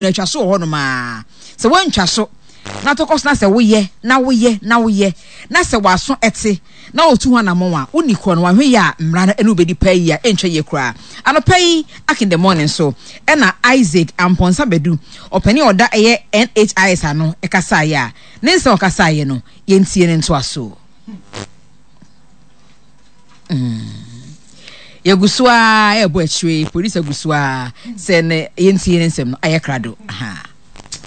Na atwa so wɔ hɔnom ara. Sɛ woantwa so na tɔ kɔ so na sɛ woyɛ na woyɛ na woyɛ na sɛ w'aso te na wotu ho anammɔn a, wonni korɔ no, wanhwɛ yie a mmara no ne wo bɛdi paa yie a ɛntwa yie koraa. Anɔpa yi Ack in the Morning so na Isaac Amponsah Badu, ɔpanin a ɔda ɛyɛ NHIS ano kasaeɛ a, ne nsɛm a ɔkasaeɛ no, yɛntie ne ntoasoɔ. Mm. Yɛgu so ara ɛrebɔ akyire, producer gu so ara sɛ ne yɛntie ne nsɛm no ayɛ krado.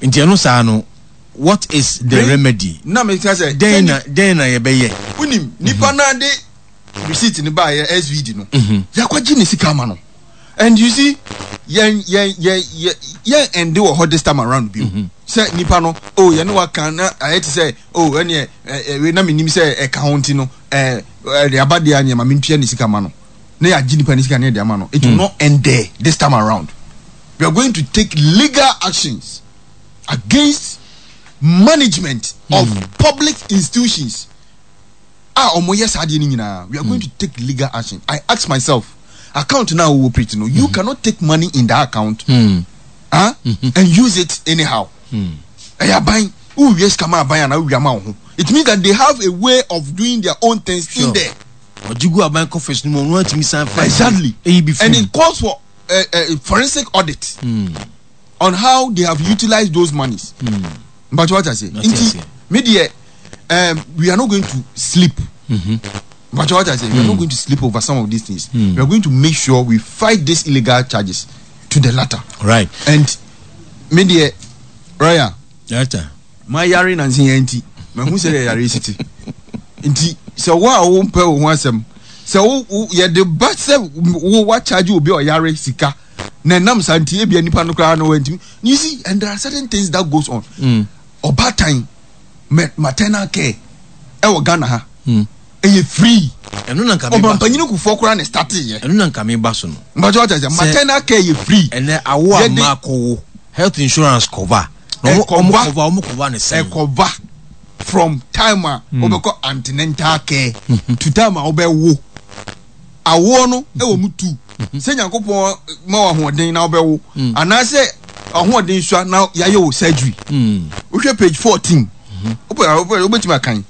Nti ɛno saa no, what is the remedy? Na mi ka sɛ dɛn na dɛn na yɛbɛyɛ? Wonim nipa naa de receipt ne baayɛ SVD no, mhm. yɛakɔgye ne sika ama no. And you see, yɛn yɛn yɛn yɛn yɛn ɛnde wɔ hɔ this time around bi. Mhm. Sɛ nipa no, oh yɛne waka na ayɛ te sɛ oh ɛneɛ ɛ ɛ na menim sɛ ɛka ho nti no ɛ ɛde aba deɛ neɛ ma mentua ne sika ma no na yɛagye nipa ne sika ne yɛde ama no. It will not end there this time around. We are going to take legal actions against management of public institutions a wɔyɛ saa adeɛ no nyinaa. We are going to take legal action. I ask myself, account na wo operate no, you cannot take money in that account huh, and use it anyhow. Ɛyɛ aban, wowie sika ma aban anaa wowia ma wo ho. It means that they have a way of doing their own things in there. Ɔgye gu aban coffers no mu, ɔno atumi san fa Exactly. eyi bi And it calls for a forensic audit on how they have utilized those monies. Mpacho what I say? Nti me deɛ we are not going to sleep. Mpacho what I say? We are not going to sleep over some of these things. We are going to make sure we fight these illegal charges to the latter. Right. And me deɛ Raya. Latter. Ma yare nansi yɛn nti ma hu sɛ yɛ yare si ti nti sɛ wo a wo mpɛ wo ho asɛm sɛ wo wo yɛde ba sɛ wo wa charge obi a ɔyare sika na ɛnam saa nti ebia nipa no koraa no wantumi you see and there are certain things that goes on ɔbaatan maternal care ɛwɔ Ghana ha ɛyɛ free ɛno na nka meba so ɔmampanyin kufoɔ koraa na start yɛ ɛno na nka meba so no mpakyɛ wate aseɛ maternal care yɛ free ɛnɛ awo a mmaa kɔwo health insurance cover na ɔmo ɔmo cover ɔmo cover ne sɛn ɛkɔva from time a wobɛkɔ antenatal care to time a wobɛwo awoɔ no ɛwɔ mu tu sɛ Nyankopɔn ma wo ahoɔden na wobɛwo anaasɛ ahoɔden sua na yɛayɛ wo surgery wohwɛ page 14 wopɛ wobɛtumi akan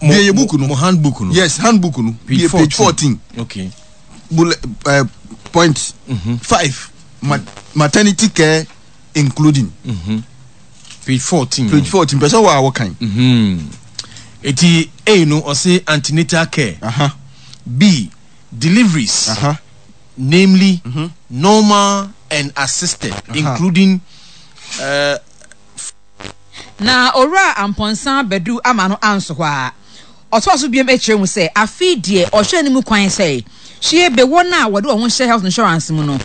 bie yɛ book no mo handbook no yes handbook no bie page 14 okay bullet uh, point 5 maternity care including page 14 page 14 pɛ sɛ wɔ a wɔkan eti A no ɔse antenatal care uh -huh. B deliveries uh -huh. namely normal and assisted including uh, Na Owura Amponsah Badu ama no anso hɔ ara. Ɔtoa so biom kyerɛ mu sɛ afei deɛ ɔhwɛ anim kwan sɛ hwie be wɔn a wɔde wɔn ho hyɛ health insurance mu no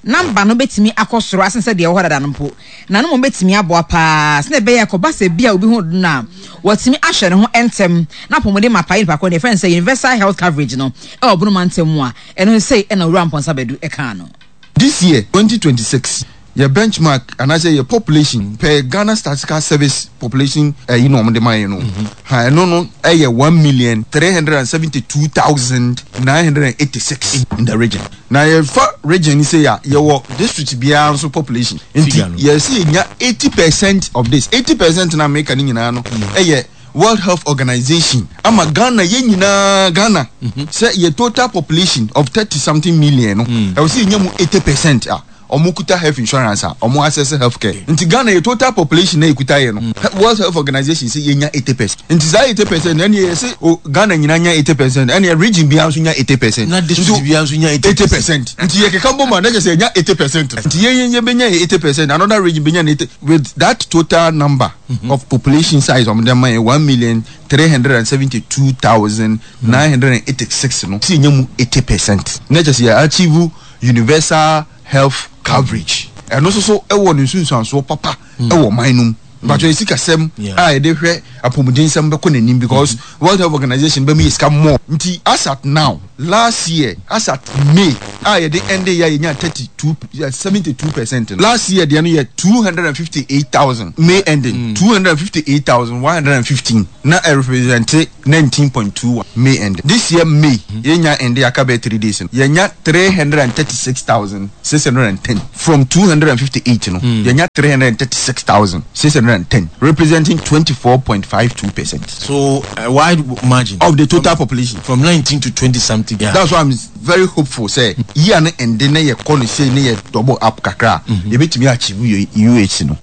namba no bɛtumi akɔ soro asen sɛ deɛ ɛwɔ hɔ dada no mpo na no mmom bɛtumi aboa pa ara sɛdeɛ ɛbɛyɛ a ɛkɔba sɛ bi a obi ho dodo no a wɔatumi ahwɛ ne ho ntɛm na apɔmuden mapa yɛ nipa korɔ deɛ yɛfrɛ no sɛ universal health coverage no wɔ Bono mantam mu a ɛno nso sei na Owura Amponsah Badu kaa no. This year, 2026, yɛ benchmark anaasɛ yɛ population per Ghana Statistical Service population ɛyi na wɔde ma yɛn no, ha ɛno no ɛyɛ 1,372,986 in the region. Na yɛfa region no sei a, yɛwɔ district biara nso population. Nti yɛsɛ yɛnya 80% of this. 80% na meka ne nyinaa no ɛyɛ World Health Organization ama Ghana yɛn nyinaa Ghana sɛ yɛ total population of 30 something million no ɛwɔ sɛ yɛnya mu 80% a wɔn kuta health insurance a wɔn access health care. Nti Ghana yɛ total population na yɛkuta yɛ no World Health Organization sɛ yɛnya 80%. Nti saa 80% no ɛneɛ yɛse o Ghana nyinaa nya 80% ɛneɛ region biara nso nya 80%. Na district biara nso nya 80%. Nti yɛkeka bom a na kyerɛ sɛ yɛnya 80%. Nti yɛn yɛbɛnya yɛ 80% another region bɛnya ne 80 with that total number of population size wɔn de ama yɛ 1,372,986 no sɛ yɛnya mu 80% na kyerɛ sɛ yɛ achieve universal health coverage. Ɛno nso so wɔ ne nsunsuansoɔ papa wɔ ɔman no mu. Mpatsɔ yɛ sikasɛm a yɛde hwɛ apɔmuden nsɛm bɛkɔ n'anim because World Health Organization bɛma yɛ sika more. Nti as at now, last year as at May a yɛde ɛnde yɛ a yɛnya 32, 72% no, last year deɛ no yɛ 258,000, May ending, 258,115 na ɛrepresente 19.21 May ending. This year May yɛnya ɛnde aka bɛyɛ 3 days no, yɛnya 336,610. From 258 no, yɛnya 336,610 representing 24.52%. So a wide margin. Of the total population. From 19 to 20 something. Yeah. That's why I'm very hopeful sɛ year no ɛnde na yɛkɔ no sei na yɛ double up kakra a, yɛbɛtumi achieve UHC no.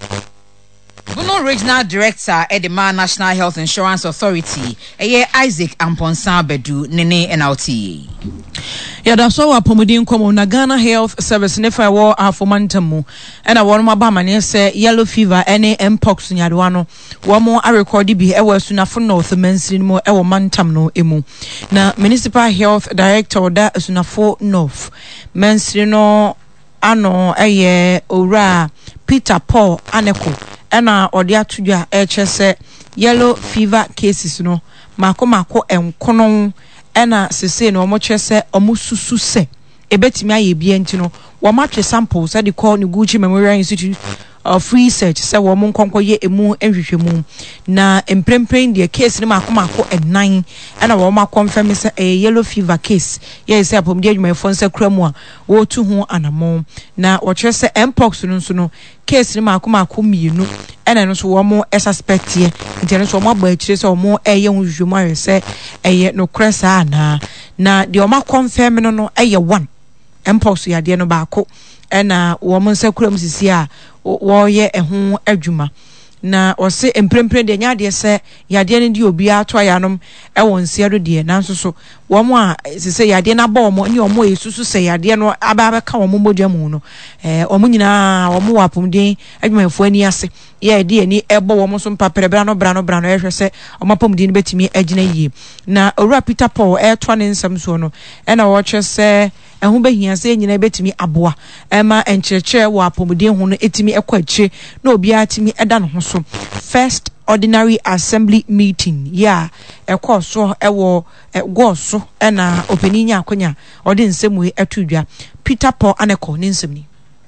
Bono Regional Director de ma National Health Insurance Authority, ɛyɛ Isaac Amponsah Badu ne ne na wote yi. Yɛda so wɔ apɔmuden nkɔmmɔ mu na Ghana Health Service ne fa ɛwɔ Ahafo mantam mu ɛna wɔn abɔ amaneɛ sɛ yellow fever ɛne mpox nyarewa no wɔn arekɔde bi ɛwɔ Asunafo North mansini no mu ɛwɔ mantam no mu. Na Municipal Health Director ɔda Asunafo North mansini no ano yɛ Owura Peter Paul Aneko na ɔde ato dwa rekyerɛ sɛ yellow fever cases no mako mako nkono na sesei no wɔkyerɛ sɛ wɔsusu sɛ ebetumi ayɛ bia nti no wɔatwe samples de kɔ Noguchi Memorial Institute of Research sɛ wɔn nkɔnkɔyɛ emu nhwehwɛmu na mprempren deɛ case no mako mako nnan na wɔn akɔnfɛm sɛ ɛyɛ yellow fever case yɛyɛ sɛ apɔmuden adwumayɛfoɔ nsa kura mu a wɔretu ho anammɔn. Na wɔkyerɛ sɛ Mpox no nso no, case no mmaako mmaako mmienu ɛna ɛno nso wɔn suspecteɛ. Nti ɛno nso wɔn abɔ akyire sɛ wɔn reyɛ ho nhwehwɛmu ahwɛ sɛ ɛyɛ nokorɛ saa anaa. Na deɛ wɔn akɔnfɛm no no yɛ one, Mpox yadeɛ no baako ɛna wɔn nsa kura mu sisi a wɔreyɛ ɛho adwuma. Na ɔse mprempren deɛ ɛnyɛ adeɛ sɛ yadeɛ no de obiara to ayanom wɔ nseɛ do deɛ, nanso so wɔn a ɛsɛ sɛ yadeɛ no abɔ wɔn ne wɔn a ɛsusu sɛ yadeɛ no aba abɛka wɔn mogya mu no, ɛɛ wɔn nyinaa wɔn wɔ apɔmuden adwumayɛfoɔ ani ase yɛ ɛde ani ɛbɔ wɔn so mpaprɛ bra no bra no bra no ɛhwɛ sɛ wɔn apɔmuden no bɛtumi agyina yie. Na Owura Peter Paul ɛretoa ne nsɛm soɔ no, ɛna ɔrekyerɛ sɛ Ɛho bɛhia sɛ yɛn nyinaa bɛtumi aboa ma nkyerɛkyerɛ wɔ apɔmuden ho no tumi kɔ akyire na obiara tumi da ne ho so. First Ordinary Assembly Meeting yi a ɛkɔɔ so wɔ Gɔɔ so na ɔpanin nyaa akwanya a ɔde nsɛm wei too dwa. Peter Paul Anekor ne nsɛm ni.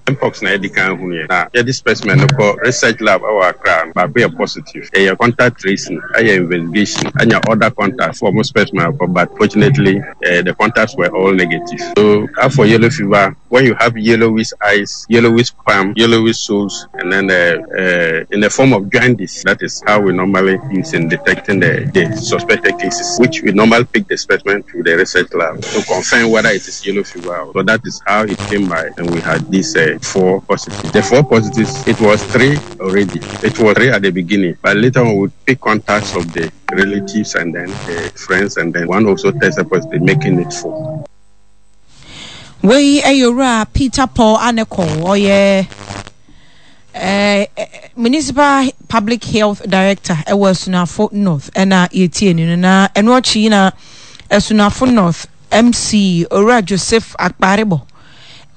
Mpox na yɛdi kan hunuiɛ na yɛde specimen no kɔ research lab wɔ Accra no, baako yɛ positive. Yɛyɛ contact tracing, ayɛ investigation, anya other contacts fo wɔn specimen akɔ but fortunately the contacts were all negative. So as for yellow fever, when you have yellowish eyes, yellowish palm, yellowish soles and then in the form of jaundice, that is how we normally use in detecting the, the suspected cases, which we normally pick the specimen to the research lab to confirm whether it is yellow fever. So that is how it came by, and we had these uh, four positives. The four positives, it was three already. It was three at the beginning, but later on we pick contacts of the relatives and then the friends, and then one also tested positive, making it four. Wei yɛ Owura Peter Paul Aneko, ɔyɛ eh, Municipal Public Health Director ɛwɔ Asunafo North ɛna yɛtie no no na ɛno akyi yi na Asunafo North MC Owura Joseph Akparebo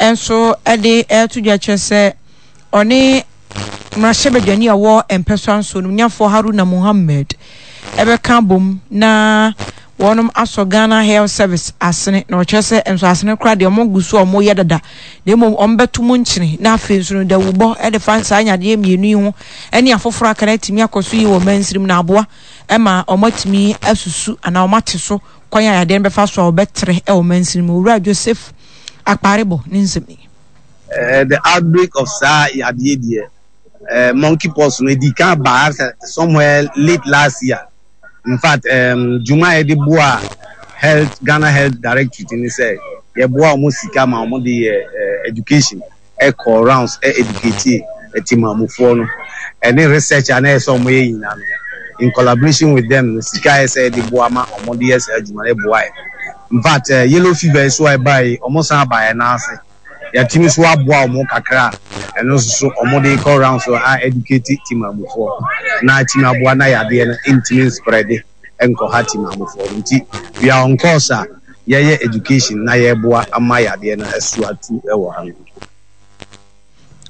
nso de ɛreto dwa kyerɛ sɛ ɔne mmarahyɛbadwani a ɔwɔ mpɛsoa nso no nyafoɔ Haruna Mohammed ɛbɛka abom na wɔnom asɔ Ghana Health Service asene na ɔkyerɛ sɛ nso asene koraa deɛ wɔn gu so a wɔyɛ dada na mmom wɔn bɛto mu nkyene na afei nso no dawubɔ ɛde fa saa nyadeɛ mmienu yi ho ɛne afoforɔ aka no atumi akɔ so yi wɔ mansirim na aboa ɛma wɔn atumi asusu anaa wɔn ate so kwan a yadeɛ no bɛfa so a wɔbɛtrɛ ɛwɔ mansirim. Owura Joseph Akparebo ne nsɛm ni. Eh, the outbreak of saa yadeɛ deɛ, eh, monkey pox no, ɛdi kan baa sɛ somewhere late last year. In fact, um, dwuma a yɛde boa health, Ghana Health Directorate ne sɛ yɛboa wɔn sika ma wɔn de yɛ eh, education, ɛkɔ rounds, ɛ educate ɛtimamufoɔ no, ɛne research a na ɛyɛ sɛ wɔn yɛ nyinaa no, in collaboration with them no, sika a ɛyɛ sɛ yɛde boa ma wɔn de yɛ saa adwuma no ɛboa yɛ. In fact, eh, yellow fever yi so a ɛbaa yi, wɔn san baa yɛn nan ase. Yɛatumi nso aboa wɔn kakra a ɛno nso so wɔde rekɔ round so a educate Timamufoɔ na atumi aboa na yadeɛ no ntumi nsprɛde nkɔha Timamufoɔ no. Nti we are on course a yɛyɛ education na yɛreboa ama yadeɛ no asu atu wɔ ha no.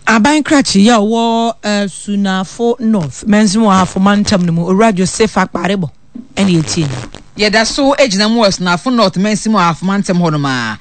Aban krakye yi a ɔwɔ Sunafo North mansin wɔ Ahafo mantam no mu, Owura Joseph Akparebo na yɛtie no. Yɛda so gyina mu wɔ Sunafo North mansin mu Ahafo mantam hɔnom a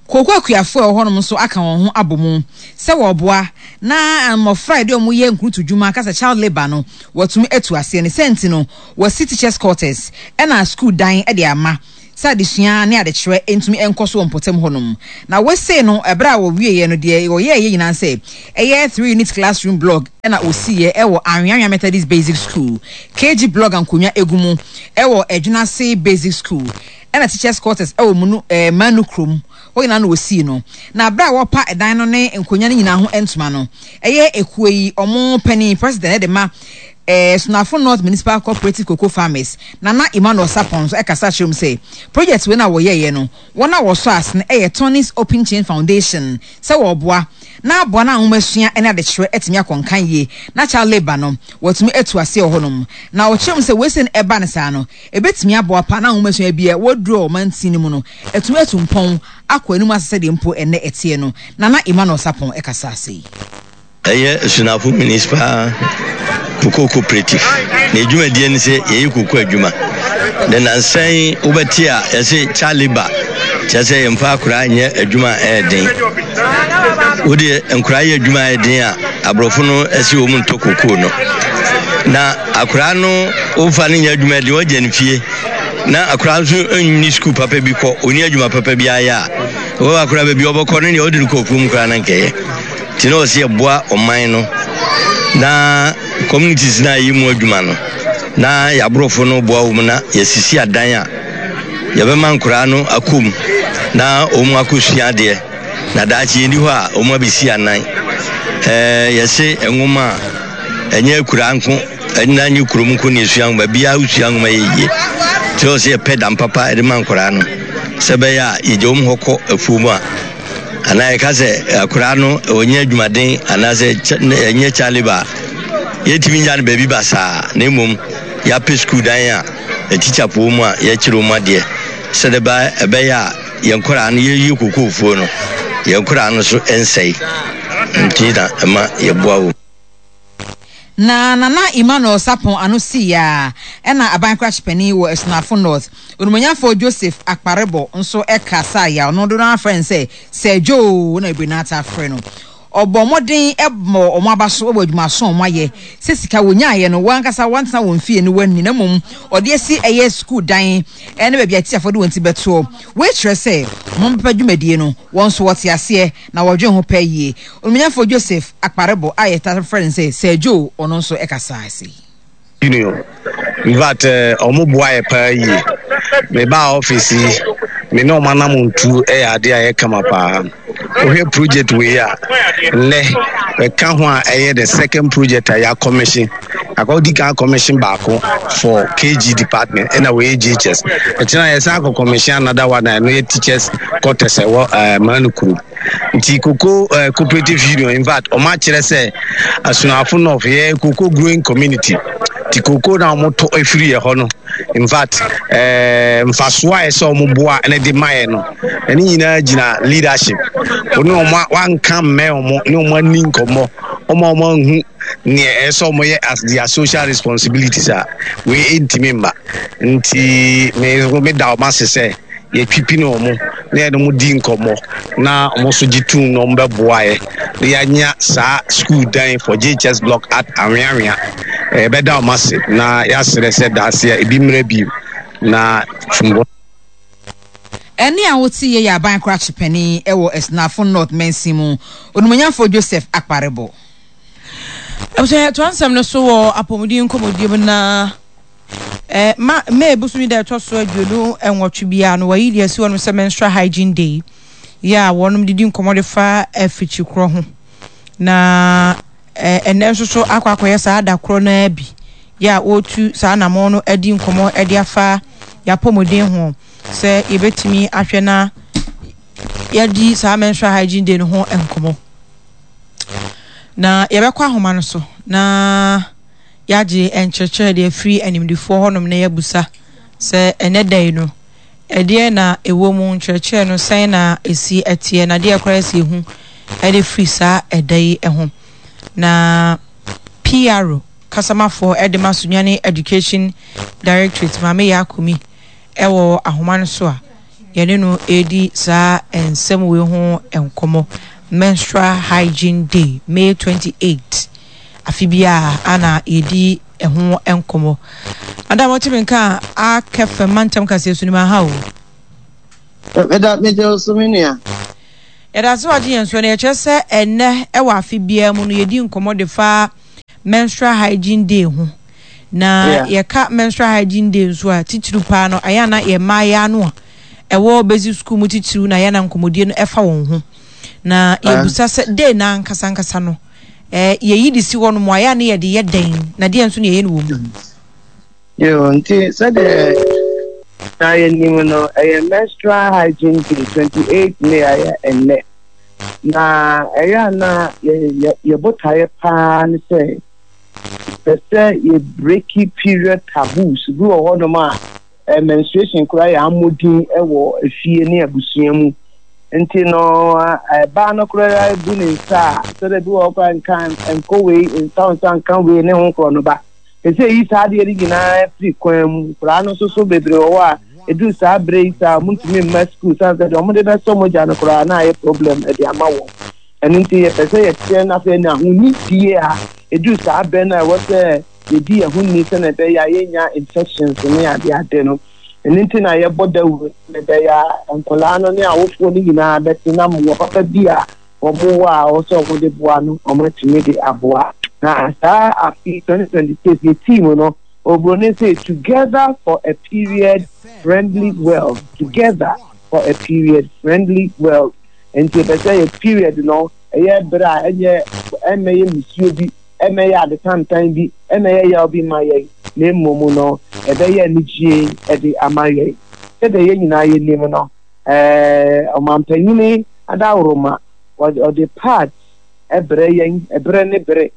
kooko akuafo a ɛwɔ hɔnom nso aka wɔn ho abɔ mu sɛ wɔreboa na mmɔfra a yɛde wɔn yɛ nkurutu dwuma ka sɛ child labour no wɔatumi atu aseɛ. Ne saa nti no wɔasi teachers quarters ɛna sukuu dan de ama sɛ adesua ne adekyerɛ ntumi nkɔ so wɔ mpɔtam hɔnom. Na wesei no, ɛberɛ a wɔwieɛ no, deɛ wɔyɛeɛ nyinaa ne sɛ, ɛyɛ three unit classroom blog na wɔsiiɛ wɔ Anweanwea Methodist Basic School, KG blog a nkonnwa gu mu wɔ Adwenase Basic School, ɛna teachers quarters wɔ Munu, eh, Manu kurom hɔ nyinaa na wɔsii no. Na berɛ a wɔrepa ɛdan no ne nkonnwa no nyinaa ho ntoma no, ɛyɛ ekuo yi wɔn panin, president, de ma Eh, Sunafo North Municipal Cooperative Cocoa Farmers, Nana Emmanuel Sarpong nso kasa kyerɛɛ mu sɛ, project wei no a wɔyɛeɛ no, wɔn a wɔsɔ ase no yɛ Tony's Open Chain Foundation sɛ wɔreboa na aboa na nwomasua ne adekyerɛ atumi akɔ nkan yie na child labour no wɔatumi atu aseɛ wɔ hɔnom. Na ɔkyerɛɛ mu sɛ wei sei no ɛba no saa no, ɛbɛtumi aboa paa na nwomasua bi a wɔaduru wɔ ɔmansin no mu no atumi atu mpɔn akɔ anim ase sɛdeɛ mpo ɛnnɛ ɛteɛ no. Nana Emmanuel Sarpong kasaa sei. Ɛyɛ Asunafo Municipal Cocoa Cooperative. Na dwumadie ne sɛ yɛyɛ cocoa adwuma. Na nansa yi wobɛte a yɛse child labour, kyerɛ sɛ yɛmfa akwadaa nyɛ adwuma a ɛyɛ den. Wode nkwadaa yɛ adwuma a ɛyɛ den a, aborɔfo no ɛse wɔn ntɔ cocoa no. Na akwadaa no wofa no nyɛ adwuma den, wɔgya no fie. Na akwadaa nso nni sukuu papa bi kɔ, ɔnni adwuma papa bi ayɛ a, wɔwɔ akwadaa baabi ɔbɛkɔ no deɛ wode no kɔ kurom koraa na nkɛyɛ. Nti na ɔsɛ yɛboa ɔman no na communities no a yɛyɛ mu adwuma no na yɛaborɔfo no boa wɔn na yɛasisi adan a yɛbɛma nkoraa no akɔ mu na wɔn akɔsua adeɛ na daakye yɛni hɔ a wɔn abɛsi anan. Ɛɛ yɛse nwoma a ɛnyɛ akuraa nko ɛna nyɛ kurom nko na yɛsua nwoma biara wosua nwoma yɛ yie. Nti ɔsɛ yɛpɛ dan papa de ma nkoraa no sɛ ɛbɛyɛ a yɛgya wɔn hɔ kɔ afuo mu a Anaa yɛka sɛ akwadaa no ɔnyɛ adwumaden anaasɛ ɛnyɛ child labour a, yɛntumi nya no baabi basaa na mmom yɛapɛ sukuu dan a atikyafoɔ mu a yɛkyerɛ wɔn adeɛ sɛdeɛ ɛbɛyɛ a yɛn nkwadaa no yɛyɛ kokoofuo no yɛn nkwadaa no so nsɛe nti na ɛma yɛboa wɔn. Na Nana Emmanuel Sarpong ano sii ara ɛna aban krakye panin wɔ Asunafo North, Onimonyamfoɔ Joseph Akparebo nso kasaa a ɔno dodoɔ no ara frɛ no sɛ Sir Joe na bebree no ara taa frɛ no. Ɔbɔɔ mmɔden bɔɔ wɔn aba so wɔ adwumaso a wɔayɛ sɛ sika wɔnyaeɛ no wɔn ankasa wɔantena wɔn fie no wɔanni na mmom wɔde asi ɛyɛ sukuu dan ne baabi a atikyafoɔ de wɔn ti bɛtoɔ. Wei kyerɛ sɛ wɔn papa dwumadie no wɔn nso wɔte aseɛ na wɔdwen ho paa yie. Onimnyamfoɔ Joseph Akparebo a yɛtaa frɛ no sɛ Sir Joe, ɔno nso kasaa sei. Union. In fact, ɔmo boa yɛ paa yie. Me baa office yi, me ne ɔmo anamontuo yɛ adeɛ a ɛyɛ kama paa. Wohwɛ project wei a, nnɛ ɛka ho a ɛyɛ the second project a yɛ commission. Akɔdi kan commission baako for KG department ɛna wei yɛ JHS. Ɛkyena yɛsan akɔ commission another one a ɛno yɛ teachers quarters ɛwɔ ɛɛ Manu kurom. Nti cocoa eh, cooperative union in fact wɔn akyerɛ sɛ Asunafo North yɛ cocoa growing community. Nti cocoa na wɔn tɔ efiri yɛ hɔ no in fact eh, mfasoɔ a ɛsɛ wɔn boa ɛna de ma yɛ no ɛne nyinaa gyina leadership. Wɔn ne wɔn wanka mmɛn wɔn ne wɔn ani nkɔmmɔ wɔn a wɔn anhu nea ɛsɛ sɛ wɔn yɛ as their social responsibilities a wei ntumi mma. Nti me me da wɔn ase sɛ. yɛtwipini wɔn na yɛne wɔn di nkɔmmɔ na wɔn nso gye tum na wɔn bɛboa yɛ na yɛanya saa school dan for JHS block at Anweanwea. Yɛbɛda wɔn ase na yɛasrɛ sɛ daase a ebi mmerɛ bio na tumbɔ. Ɛnne a wote yɛ yɛ aban krakye panin wɔ Asunafo North mansin mu, Onimonyamfoɔ Joseph Akparebo. Abusua yɛtoa nsɛm no so wɔ apɔmuden nkɔmmɔdie mu na Eh, ma May bosomi da ɛtɔ so 28 biara no wɔayi de asi hɔnom sɛ Menstrual Hygiene Day yɛ a wɔnom de di nkɔmmɔ de fa afikyikorɔ ho. Na eh, ɛnnɛ nso so akɔ akɔyɛ saa da korɔ no ara bi yɛ a wɔretu saa anammɔn no adi nkɔmmɔ de afa yɛapɔmuden ho sɛ yɛbɛtumi ahwɛ na yɛadi saa Menstrual Hygiene Day no ho nkɔmmɔ. Na yɛbɛkɔ ahoma no so na yɛagye nkyerɛkyerɛ de afiri animdefoɔ hɔnom na yɛabusa sɛ ɛnɛ da yi no, ɛdeɛn na ɛwɔ mu, nkyerɛkyerɛ no sɛn na ɛsi teɛ, na deɛ koraa ɛsɛ yɛhu de firi saa ɛda yi ho. Na PRO kasamafoɔ de ma Sunyani Education Directorate Maame Yaa Kumi wɔ ahoma no so a yɛne no redi saa nsɛm wei ho nkɔmmɔ. Menstrual Hygiene Day, May 28, afe biara ana yɛdi ɛho nkɔmmɔ. Madam, wote me nka a Akɛfɛ mantam kaseɛ so no mu aha o. Meda megye wo so me nua. Yɛda ase wagye yɛn so na yɛkyerɛ sɛ ɛnnɛ wɔ afe biara mu no yɛdi nkɔmmɔ de fa menstrual hygiene day ho. Na yɛka menstrual hygiene day nso a titiriw paa no ɛyɛ na yɛ mmaayewa no a ɛwɔ basic school mu titiriw na ɛyɛ na nkɔmmɔdie no ɛfa wɔn ho. Na yɛbusa sɛ day no ankasa ankasa no eh, yɛyi de si hɔ nom a ɛyɛ a ne yɛde yɛ dɛn na deɛ nso na yɛyɛ no wɔ mu. Yo, nti sɛdeɛ na yɛnim no, ɛyɛ Menstrual Hygiene Day, 28 May a ɛyɛ ɛnnɛ. Na ɛyɛ a na yɛ botaeɛ paa ne sɛ yɛpɛ sɛ yɛ breaki period taboos. Bi wɔ hɔnom a eh, menstruation koraa yɛ ammɔdin wɔ efie ne abusua mu. Nti no, ɛbaa no koraa bu ne nsa a, sɛdeɛ bi wɔ hɔ koraa nka nkɔ wei, nsa wo nsa nka wei ne ho korɔ no ba. Ɛsɛ sɛ yɛyi saa adeɛ no nyinaa firi kwan mu. Nkwadaa no nso so bebree wɔ hɔ a, ɛduru saa berɛ yi saa a, wɔntumi mma sukuu sane sɛ deɛ wɔde bɛsɔ mogya no koraa na ayɛ problem de ama wɔn. Ɛno nti yɛpɛ sɛ yɛteɛ no afei na ahonidie a ɛduru saa berɛ no a ɛwɔ sɛ yɛdi yɛn ho ni sɛdeɛ ɛbɛyɛ a yɛnnya infections ne adeade no. Ɛno nti na yɛbɔ dawuro sɛdeɛ ɛbɛyɛ a nkwadaa no ne awofoɔ no nyinaa bɛte na mmoa papa bi a wɔwɔ a ɔwɔ sɛ wɔde boa no, wɔatumi de aboa. Na saa afe yi, 2026, yɛ team no, Oburoni se, Together for a period friendly world, Together for a period friendly world. Nti yɛpɛ sɛ yɛ period no, ɛyɛ bere a ɛnyɛ ɛmmɛyɛ mmusuo bi, ɛmmɛyɛ ade tantan bi, ɛmmɛyɛ yaw bi mma yɛn, na mmom no, ɛbɛyɛ anigyie de ama yɛn. Sɛdeɛ yɛn nyinaa yɛnim no, Ɛɛ ɔmampanyini adaworoma, ɔde pads brɛ yɛn berɛ ne bere.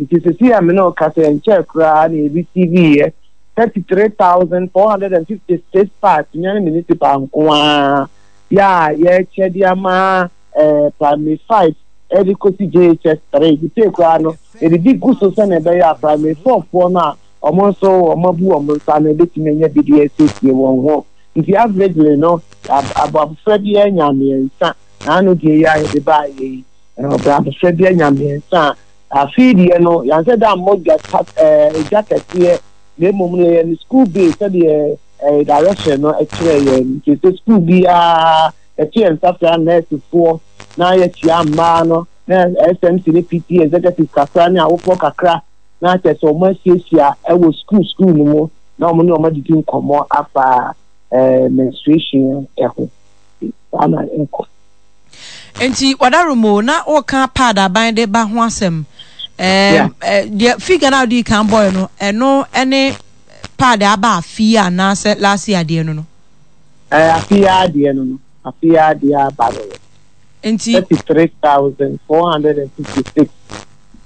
Nti sesei a me ne wo kasa yi, ɛnkyɛɛ koraa na yɛ receive yɛ 33,456 pads, Sunyani Municipal nko ara, yɛ a yɛrekyɛ de ama ɛɛ primary 5 de kɔsi JHS 3. Sesei koraa no, yɛde bi gu so sɛnea ɛbɛyɛ a primary 4 foɔ no a wɔn nso wɔabu wɔn nsa no bɛtumi anya bi de asiesie wɔn ho. Nti averagely no abɔfra biara nya mmiɛnsa na ano deɛ yi a yɛde baeɛ yi abɔfra biara nya mmiɛnsa a afei deɛ no yɛansɛ da mmɔ dwa dwa kɛseɛ na mmom no yɛyɛ no school base sɛdeɛ direction no kyerɛ yɛn nti sɛ school biara yɛto yɛn nsa frɛ nɛɛsefoɔ na yɛkyia mmaa no na SMC ne PTA executive kakra ne awofoɔ kakra na kyerɛ sɛ wɔn asiesie wɔ school school no mu na wɔn ne wɔn adidi nkɔmmɔ afa eh, menstruation ho. Saa na ɛkɔ. Nti wadaromo na woka pad aban de ba ho asɛm. Eh, eh, deɛ figure na wode kan bɔe no ɛno ɛne pad aba afe yi anaasɛ last year adeɛ no no? Eh, afe yi adeɛ no no afe yi adeɛ aba no no. Nti 33,456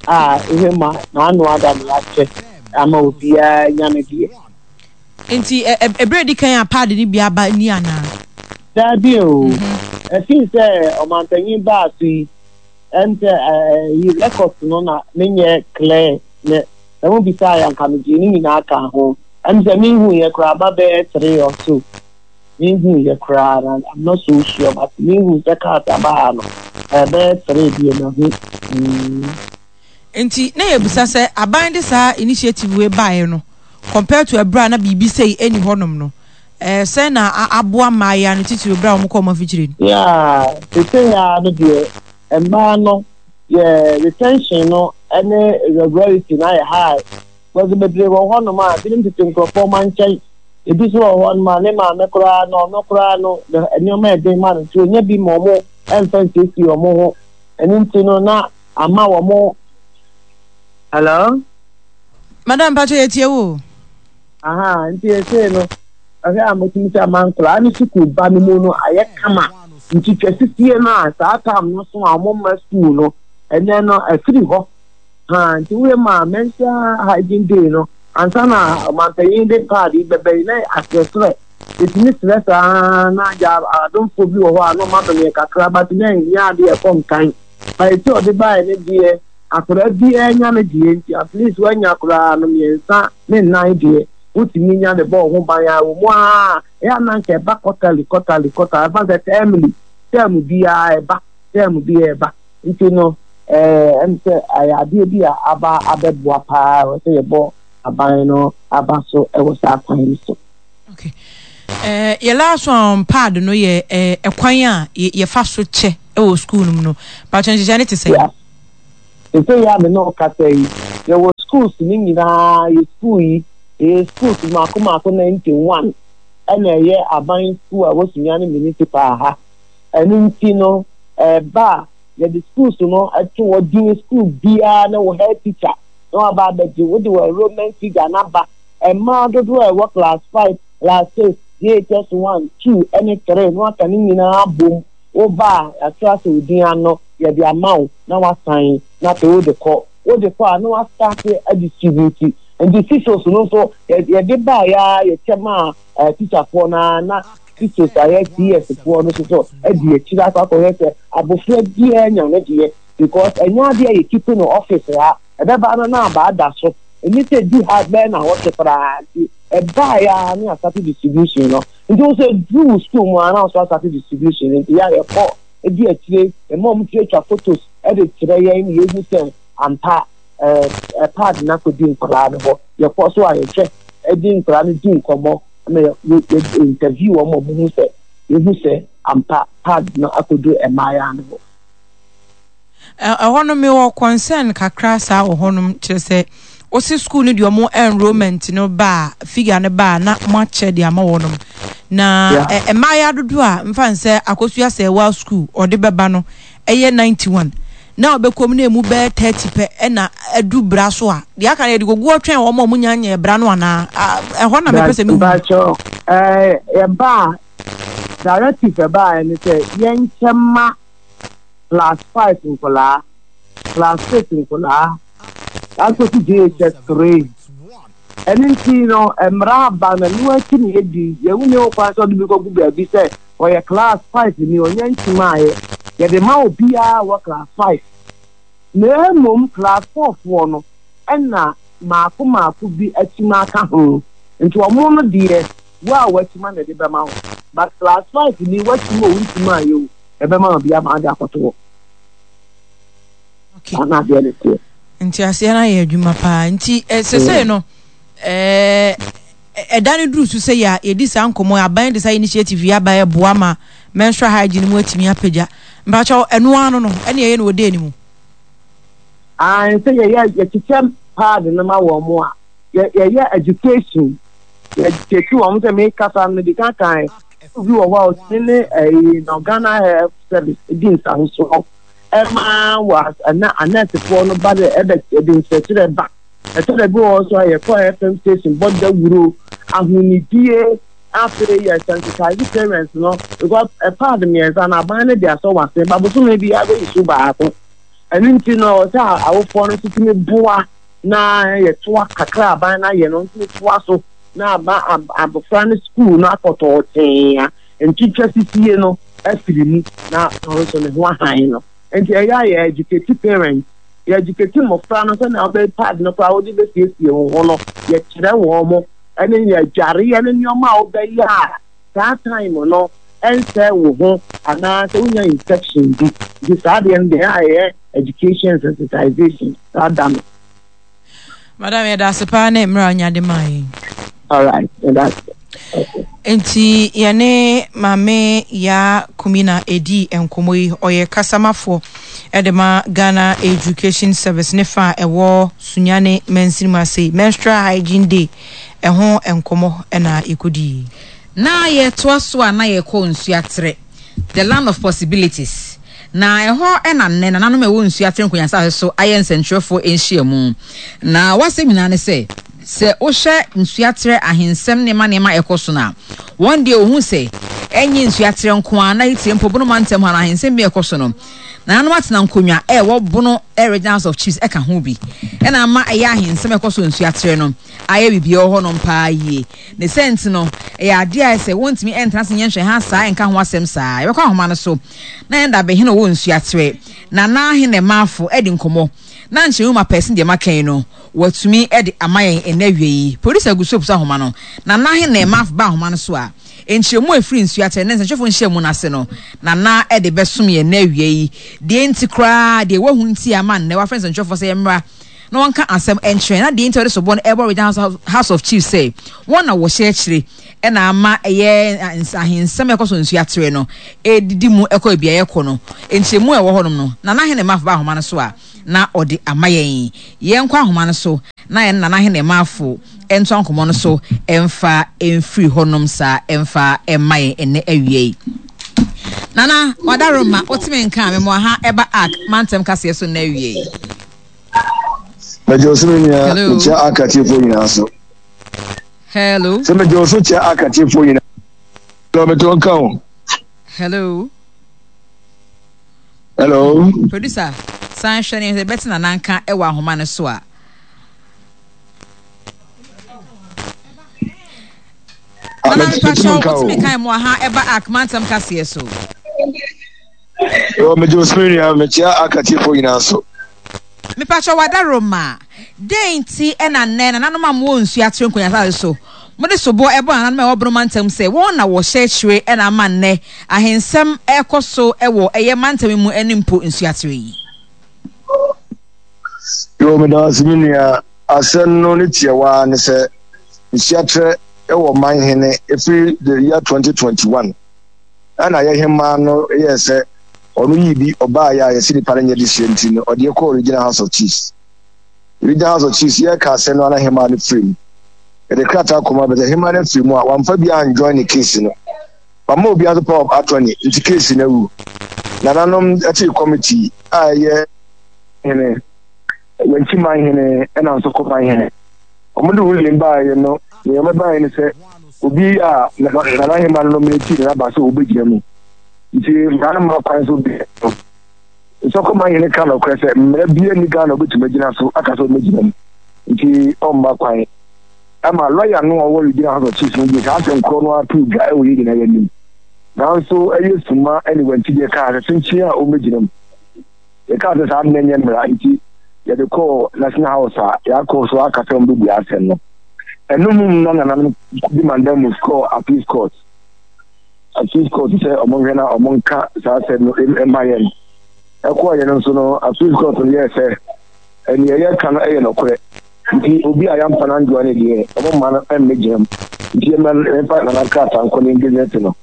a ihe ma n'ano ada na yɛakyɛ ama obiara anya ne deɛ. Nti ɛ ɛ ɛberɛ a ɛdi kan a paadi no bi aba ni anaa? Daabi o. Ɛfiri sɛ ɔmanpanyin baa so yi, ɛm sɛ ɛyi records no na menyɛ clear ne sɛ mo bisaa yɛ anka megyee ne nyinaa kaa ho. Ɛm sɛ menhuiɛ koraa aba bɛyɛ three or so. Menhuiɛ koraa na I'm not so sure but menhu sɛ cars aba ha no ɛbɛyɛ three deɛ mahu. Mm. Nti na yɛbisa sɛ aban de saa initiative wei baeɛ no compared to ɛberɛ a na biribi sei ɛnni hɔnom no ɛɛ sɛn na aboa mmaayewa no titiriw berɛ a wɔkɔ wɔn afikyire no? Yeah, seesei ara no deɛ mmaa no yɛ retention no ne regularity no ayɛ high because bebree wɔ hɔnom a binom tete nkurɔfoɔ ma nkyɛn ebi nso wɔ hɔnom a ne maame koraa no ɔno koraa no nneɛma ɛden ma no nti ɔnya bi ma wɔn ɛmfa nsiesie wɔn ho ɛno nti no na ama wɔn. Hello. Madam Pacho yɛ tie wo. Aha nti ɛsei no ɛhwɛ a motumi sɛ ama nkwadaa no sukuu ba no mu no ayɛ kama nti twa sisie no a saa tam no so a wɔn mma sukuu no ɛnɛ no afiri hɔ ha nti woyɛ ma menstrual hygiene day no ansa na ɔmanpanyin de paadi bɛbɛ yi na asrɛsrɛ ɛtumi srɛ saa na agya adomfoɔ bi wɔ hɔ a na ɔma dɔm yɛ kakra but na ɛnyɛ adeɛ ɛkɔ nkan. But eti ɔde baeɛ no deɛ. Akwadaa biara nya ne deɛ nti at least woanya koraa no mmiɛnsa ne nnan deɛ wotumi nya de bɔ wo ho ban a wɔ mu ara ɛyɛ a na anka ɛba quarterly quarterly quarterly ɛfa sɛ termly term biara ɛba term biara ɛba nti no ɛɛ ɛm sɛ ɛyɛ adeɛ bi a aba abɛboa paa ɛwɔ sɛ yɛbɔ aban no aba so ɛwɔ saa kwan yi so. Okay. Eh, yɛ last one on pad no yɛ eh, ɛkwan a yɛfa so kyɛ wɔ school no mu no. Patro nhyehyɛ ne te sɛ. Yeah. Sɛ yɛ a me ne ɔkasa yi, yɛwɔ schools no nyinaa, yɛ school yi, yɛyɛ schools mmaako mmaako 91 ɛna ɛyɛ aban school a ɛwɔ Sunyani municipal ha. Ɛno nti no, ɛba a yɛde schools no to hɔ din school biara ne wo head teacher na waba abɛgye wode wɔ enrollment figure no aba. Mmaa dodoɔ a ɛwɔ class 5, class 6, JHS 1, 2 ne 3 na waka ne nyinaa abom. Woba a, yɛatwerɛ asɛ wo din ano, yɛde ama wo na woasan na afei wode kɔ. Wode kɔ a na woastarte adistribute. Nti CISOs no nso yɛde baeɛ ara yɛkyɛ maa tikyafoɔ no ara na CISOs a ɛyɛ CS foɔ no nso so adi akyire akɔ akɔhwɛ sɛ abɔfra biara nya ne deɛ because ɛnyɛ adeɛ a yɛkipi no office ha. Ɛbɛba no na abaa da so. Ɛnni sɛ ɛdu ha bɛyɛ nnawɔtwe koraa nti ɛbaeɛ ara ne asate distribution no. Nti wo sɛ ɛduru wo school mu ara na wo nso asate distribution no nti yɛ a yɛkɔ di akyire yɛma wɔn tuatwa photos de kyerɛ yɛn na yɛhu sɛ ampa ɛɛ pad no akɔdi nkwadaa no hɔ. Yɛkɔ so a yɛhwɛ de nkwadaa no di nkɔmmɔ ma yɛ yɛ interview wɔn ma wɔhu sɛ yɛhu sɛ ampa pad no akɔdu mmaayewa no hɔ. Ɛhɔ no mewɔ concern kakra saa wɔ hɔnom kyerɛ sɛ wose school no deɛ ɔmo enrollment no ba a figure no ba a na moakyɛ de ama wɔnom na mmaayewa dodoɔ a mfa nsɛ akosua sɛ ɛwɔ school ɔde bɛba no ɛyɛ 91 na ɔbɛkɔ mu na emu bɛyɛ 30 pɛ ɛna adu bra so a deɛ aka no yɛde kɔgu ɔtwɛn wɔn a wɔn nya nyɛ bra no anaa ɛhɔ na mepɛ sɛ mehu. Mpakyɛw ɛɛ yɛba a directive ɛbaeɛ ne sɛ yɛnkyɛ ma class 5 nkwadaa, class 6 nkwadaa, akɔsi JHS 3. Ɛno nti no, mmara aba na ɛno akyi na yɛdi. Yɛn nni ho kwan sɛ ɔde bi kɔgu baabi sɛ ɔyɛ class 5 ni, ɔnyɛ ntimaeɛ. Yɛde ma obiara wɔ class 5. Na mmom class 4 foɔ no, ɛna maako maako bi akyima aka ho. Nti ɔmo no deɛ, wo a wakyima na ɛde bɛma wo. But class 5 ni, wakyima o, wontimaeɛ o, ɛbɛma obi ama ade akɔto hɔ. Okay. Saa na adeɛ no teɛ. Nteaseɛ no ayɛ adwuma paa. Nti eh, sesei no eh, ɛda no duru so sɛ yɛ yɛdi saa nkɔmmɔ aban de saa initiative yi aba ɛboa ma menstrual hygiene mu atumi apagya. Mpakyɛw ɛno ano no ɛne ɛyɛ no wɔ day no mu. Ae sɛ yɛyɛ yɛkyekyɛ pad no ma wɔn mo a yɛyɛ education yɛ educate wɔn sɛ mekasa no mede kan kan obi wɔ hɔ a ɔtumi ne ɛyi na Ghana Health Service di nsahosoɔ ɛma wɔ ɛna anɛɛsefoɔ no ba dɛ ɛbɛ ɛde nkyerɛkyerɛ ba ɛtɔ da bi wɔ hɔ so a yɛkɔ FM station bɔ dawuro ahonidie afei yɛ sensitize parents no because ɛpaad mmiɛnsa na aban no de asɔ wase ba bosome bi abɛyi so baako ɛno nti no ɔsɛ awofoɔ no nso tumi boa na yɛtoa kakra aban no ayɛ no nso toa so na ama abofra no sukuu no akɔtɔɔ tee a ntwitwa sisie no afiri mu na ɔno nso ne ho ahan no. Nti ɛyɛ a yɛ educate parents, yɛ educate mmofra no sɛnea wobɛ pad no koraa wode bɛsiesie wo ho no, yɛkyerɛ wɔn mo ɛne yɛ adwareɛ ne nneɛma a wobɛyɛ a saa time no ɛnsɛe wo ho anaa sɛ wonya infection bi. Nti saa deɛ no deɛ ɛyɛ a yɛyɛ education and sensitization saa da no. Madam, yɛda ase paa ne mmerɛ a wonya de maa yɛn. Alright, yɛda ase. Nti yɛne Maame Yaa Kumina ɛdi nkɔmmɔ yi. Ɔyɛ kasamafoɔ de ma Ghana Education Service ne fa a ɛwɔ Sunyani mansini mu ase. Menstrual Hygiene Day ɛho nkɔmmɔ na yɛkɔdii. Na yɛtoa so a na yɛkɔ Nsuaterɛ, the land of possibilities. Na ɛhɔ na nnɛ nananom a ɛwɔ Nsuaterɛ Nkonya asase so ayɛ nsɛnkyerɛwfoɔ nhyiamu. Na w'asɛm nyinaa ne sɛ, sɛ wohwɛ Nsuaterɛ ahensɛm nneɛma nneɛma a ɛkɔ so no a, wɔn deɛ wɔhu sɛ ɛnyɛ Nsuaterɛ nko ara na titire mpo Bono mantam ha no ahensɛm bi a ɛkɔ so no, nananom atena nkonnwa a ɛwɔ Bono Regional House of Chiefs ɛka ho bi ɛna ama ɛyɛ ahensɛm a ɛkɔ so wɔ Nsuaterɛ no ayɛ biribi ɛwɔ hɔnom paa yie. Ne sɛ nti no, ɛyɛ adeɛ a ɛsɛ wɔntumi ɛntena ase nyɛ nhwɛha saa ɛnka ho asɛm saa. Yɛbɛkɔ ahoma no so na yɛn dabehene a ɔwɔ Nsuaterɛ, Nana Ahenemafo adi nkɔmmɔ. Na nkyerɛmu ma pɛsen deɛ maka yi no, watumi de ama yɛn ɛnnɛ awia yi. Producer gu so repusa ahoma no. Nana he na ɛma ba ahoma no so a, nkyerɛmu a ɛfiri nsuakyerɛ ne nsɛnkyerɛfoɔ nhyiamu no ase no, Nana de bɛsom yɛn nnɛ awia yi. Deɛ nti koraa, deɛ wahu nti a ama nnɛ wafrɛ nsɛnkyerɛfoɔ sɛ yɛmmra na wɔnka asɛm nkyerɛ yɛn, na deɛ nti a ɔde soboɔ no rebɔ Regional House of Chiefs sɛ wɔn na wɔhyɛ akyire na ama ɛyɛ ahensɛm a ɛkɔ so nsuaterɛ no ɛredidi mu kɔ baabi a yɛkɔ no. Nkyerɛmu a ɛwɔ hɔnom no, Nana Ahenemma ba ahoma no so a, na ɔde ama yɛn. Yɛnkɔ ahoma no so na yɛne Nana Ahenemma-fo ntoa nkɔmmɔ no so mfa mfiri hɔnom saa mfa mma yɛn ɛnnɛ awia yi. Nana, Wadaroma, woteme nka a, mema ha ɛba Ark mantam kaseɛ so nnɛ awia yi. Mɛgye wo so me nua, mekyia Ark atiefoɔ nyinaa so. Hello. Sɛ mede wo so kyɛ akatiefoɔ nyinaa. Hello, mete wo nka o. Hello. Hello. Producer, san hwɛ ne sɛ bɛte nana nka ɛwɔ ahoma no so a. Ah, Nana mepakyɛw wotumi kan mu aha ɛba ak mantam kaseɛ so. Yo, megye wo so me nua, mekyia akatiefoɔ nyinaa so. Mepakyɛw w'adaworoma, dɛn nti na nnɛ nananom a mowɔ nsu atere nkonya asase so, mode soboɔ ɛbɔ nananom a ɛwɔ Bono mantam sɛ wɔn na wɔhyɛ akyire na ama nnɛ ahensɛm ɛrekɔ so wɔ ɛyɛ mantam yi mu ne mpo nsu atere yi? Yoo, meda wo ase me nua. Asɛm no ne tiawa ara ne sɛ, nsuaterɛ wɔ man hene ɛfiri the year 2021. Ɛna yɛ hemaa no yɛɛ sɛ ɔno yii bi ɔbaeɛ a yɛse nipa no nyɛ dehyeɛ nti no ɔde yɛ kɔɔ Regional House of Chiefs. Regional House of Chiefs yɛreka asɛm no ana hemaa no firi mu. Yɛde krataa kɔma bɛsɛ hemaa no afiri mu a wamfa bi anjoin ne case no. Wamma obiara nso power of attorney nti case no awu. Nananom tee committee a ɛyɛ hene, Wankyi man hene ɛna Nsɔkɔ man hene. Wɔde ruling baeɛ no nea wɔbɛbaeɛ ne sɛ obi a Nana Hemaa no nominate no aba sɛ ɔbɛgyina mu. Nti mmara no mma kwan sɛ obi no. Nsɔkɔma hene ka nɔkorɛ sɛ mmara biara nni Ghana ɔbɛtumi agyina so aka sɛ ɔmmɛgyina mu. Nti ɔmma kwan. Ɛma lɔya no a ɔwɔ Regional House of Chiefs no de saa asɛm korɔ no ara too dwa wɔ yɛn nyinaa anim. Nanso ɛyɛ suma ne wantideɛ kaa sɛ kyenkyen a ɔmmɛgyina mu. Yɛkaa sɛ saa ade no nyɛ mmara nti yɛde kɔɔ National House a yɛakɔ so aka sɛ wɔbɛbua asɛm no. Ɛno mu na nananom de mandamus kɔɔ Appeals Court. Appeals Court sɛ wɔnhwɛ na wɔnka saa asɛm no mma yɛn. Ɛkɔɔ yɛn nso no, Appeals Court no yɛɛ sɛ nea yɛka no yɛ nokorɛ. Nti obi a yɛamfa no anjoa no deɛ, wɔmma no mmɛgyina mu. Nti yɛmma yɛmfa nana krataa nkɔ ne engagement no.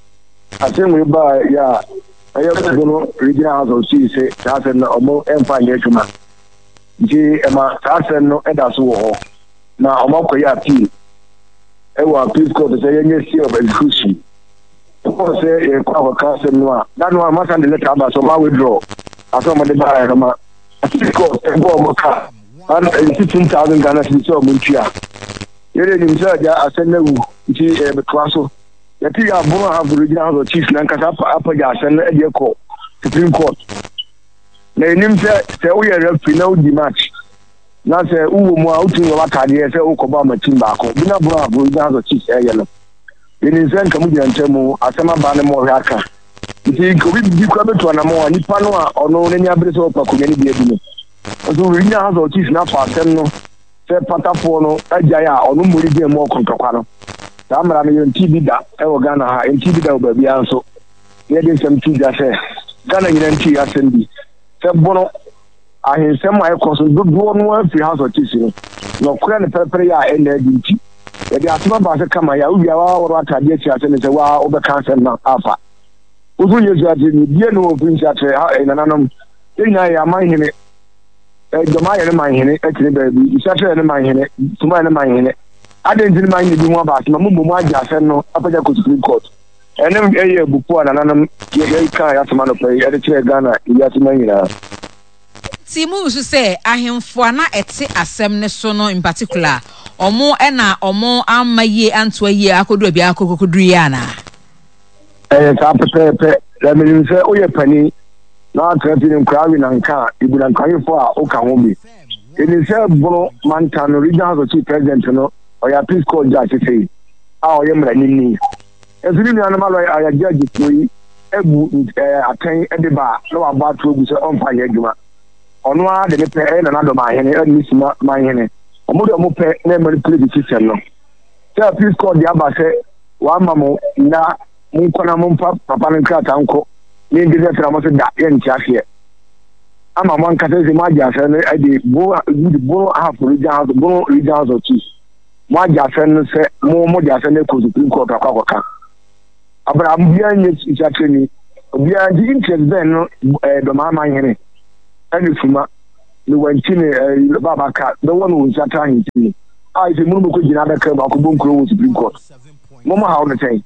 Asɛm wei baa yɛ a, ɛyɛ Bono Regional House of Chiefs sɛ saa asɛm no wɔmfa nyɛ adwuma. Nti ɛma saa asɛm no da so wɔ hɔ. Na wɔakɔyɛ appeal wɔ appeals court sɛ yɛnyɛ stay of execution. Ɛkɔɔ sɛ yɛkɔ akɔka asɛm no a, da no a wɔasan de letter aba sɛ wɔn withdraw asɛm a wɔde baeɛ no ma appeals court bɔɔ wɔn ka 15,000 Ghana cedis sɛ wɔn ntua. Yɛde nim sɛ agya asɛm no awu nti yɛbɛtoa so. Yɛte yɛ abono Ahafo Regional House of Chiefs nankasa apagya asɛm no de akɔ Supreme Court. Na yɛnim sɛ sɛ woyɛ referee na wodi match na sɛ wowɔ mu a wotumi wɔ w'ataadeɛ sɛ wokɔbɔ ama team baako bi na abono Ahafo Regional House of Chiefs ɛyɛ no. Yɛnim sɛ nka mo gyina ntam mu asɛm aba ne mo ɔhwɛ aka. Nti nka obi bi kora bɛtu anamɔ a nipa no a ɔno n'ani abere sɛ ɔpɛ akonnwa no bi adi no. Nso Regional House of Chiefs no afa asɛm no sɛ patafoɔ no agyae a ɔno mmɔ ne gyina mu ɔko ntɔkwa no. Saa mmara no yɛntee bi da wɔ Ghana ha, yɛntee bi da wɔ baabiara nso. Na yɛde nsɛm to dwa sɛ Ghana nyinaa ntee asɛm bi sɛ bono ahensɛm a ɛkɔ so dodoɔ no ara firi House of Chiefs no. Nɔkorɛ ne pɛrɛpɛrɛ yɛ a ɛnna adi nti, yɛde asɛm aba sɛ kama yɛ a wowie a woawɔre w'ataadeɛ asi ase ne sɛ wo ara wobɛka asɛm no afa. Wo nso wonyɛ nsuatire ni, bie no wɔ mfiri nsuaterɛ ha, nananom, yɛn nyinaa yɛyɛ aman hene. Dɔm ayɛ ne man hene te ne baabi, Nsuaterɛ yɛ ne man hene, Suma yɛ ne man hene. Adɛn nti ne man hene bi ho aba asɛm a mommɔ mu agye asɛm no apagya kɔ Supreme Court? Ɛno yɛ abufuo a nananom yɛkaa yɛn asɛm anɔpa yi de kyerɛɛ Ghana ne wiase man nyinaa. Enti monsusu sɛ ahemfo a na ɛte asɛm no so no in particular, wɔn na wɔn amma yie antoa yie akɔduru baabi a akɔkɔduru yi anaa? Ɛyɛ saa pɛpɛɛpɛ. Na menim sɛ woyɛ panin na woatra fie no nkoraa we nanka a, ebu nankawefo a woka ho bi. Yɛnim sɛ Bono mantam no Regional House of Chief President no, ɔyɛ Appeals Court Judge sesei a ɔyɛ mmaranimni. Nso ne nuanom alɔya a judgefoɔ yi abu atɛn de ba a na wabɔ ato agu sɛ ɔmfa nyɛ adwuma. Ɔno ara de ne pɛ ɛyɛ Nana Dɔmahene ɛne ne Suma Manhene. Wɔn de wɔn pɛ na ɛmanipulate system no. Sɛ appeals court de aba sɛ wɔama mo nna monkɔ na momfa papa no nkrataa nkɔ ne ngezɛ sɛ na mo se da yɛnte aseɛ. Ama mo ankasa sɛ moagye asɛm no de Bono de Bono Ahafo Region House Bono Region House of Chiefs moagye asɛm no sɛ mo mode asɛm no akɔ Supreme Court akɔ akɔka. Abraham obiara nyɛ nsakyerɛni obiara nti interest bɛn no ɛɛ dɔmaa manhene ɛne suma ne wankyi ne ɛɛ baaba ka bɛwɔ no wɔ nsakyerɛ ahemfie mu a ɛsɛ mu no bɛkɔ gyina adaka mu akɔbɔ nkuro wɔ supreme court mo mo haw no sɛn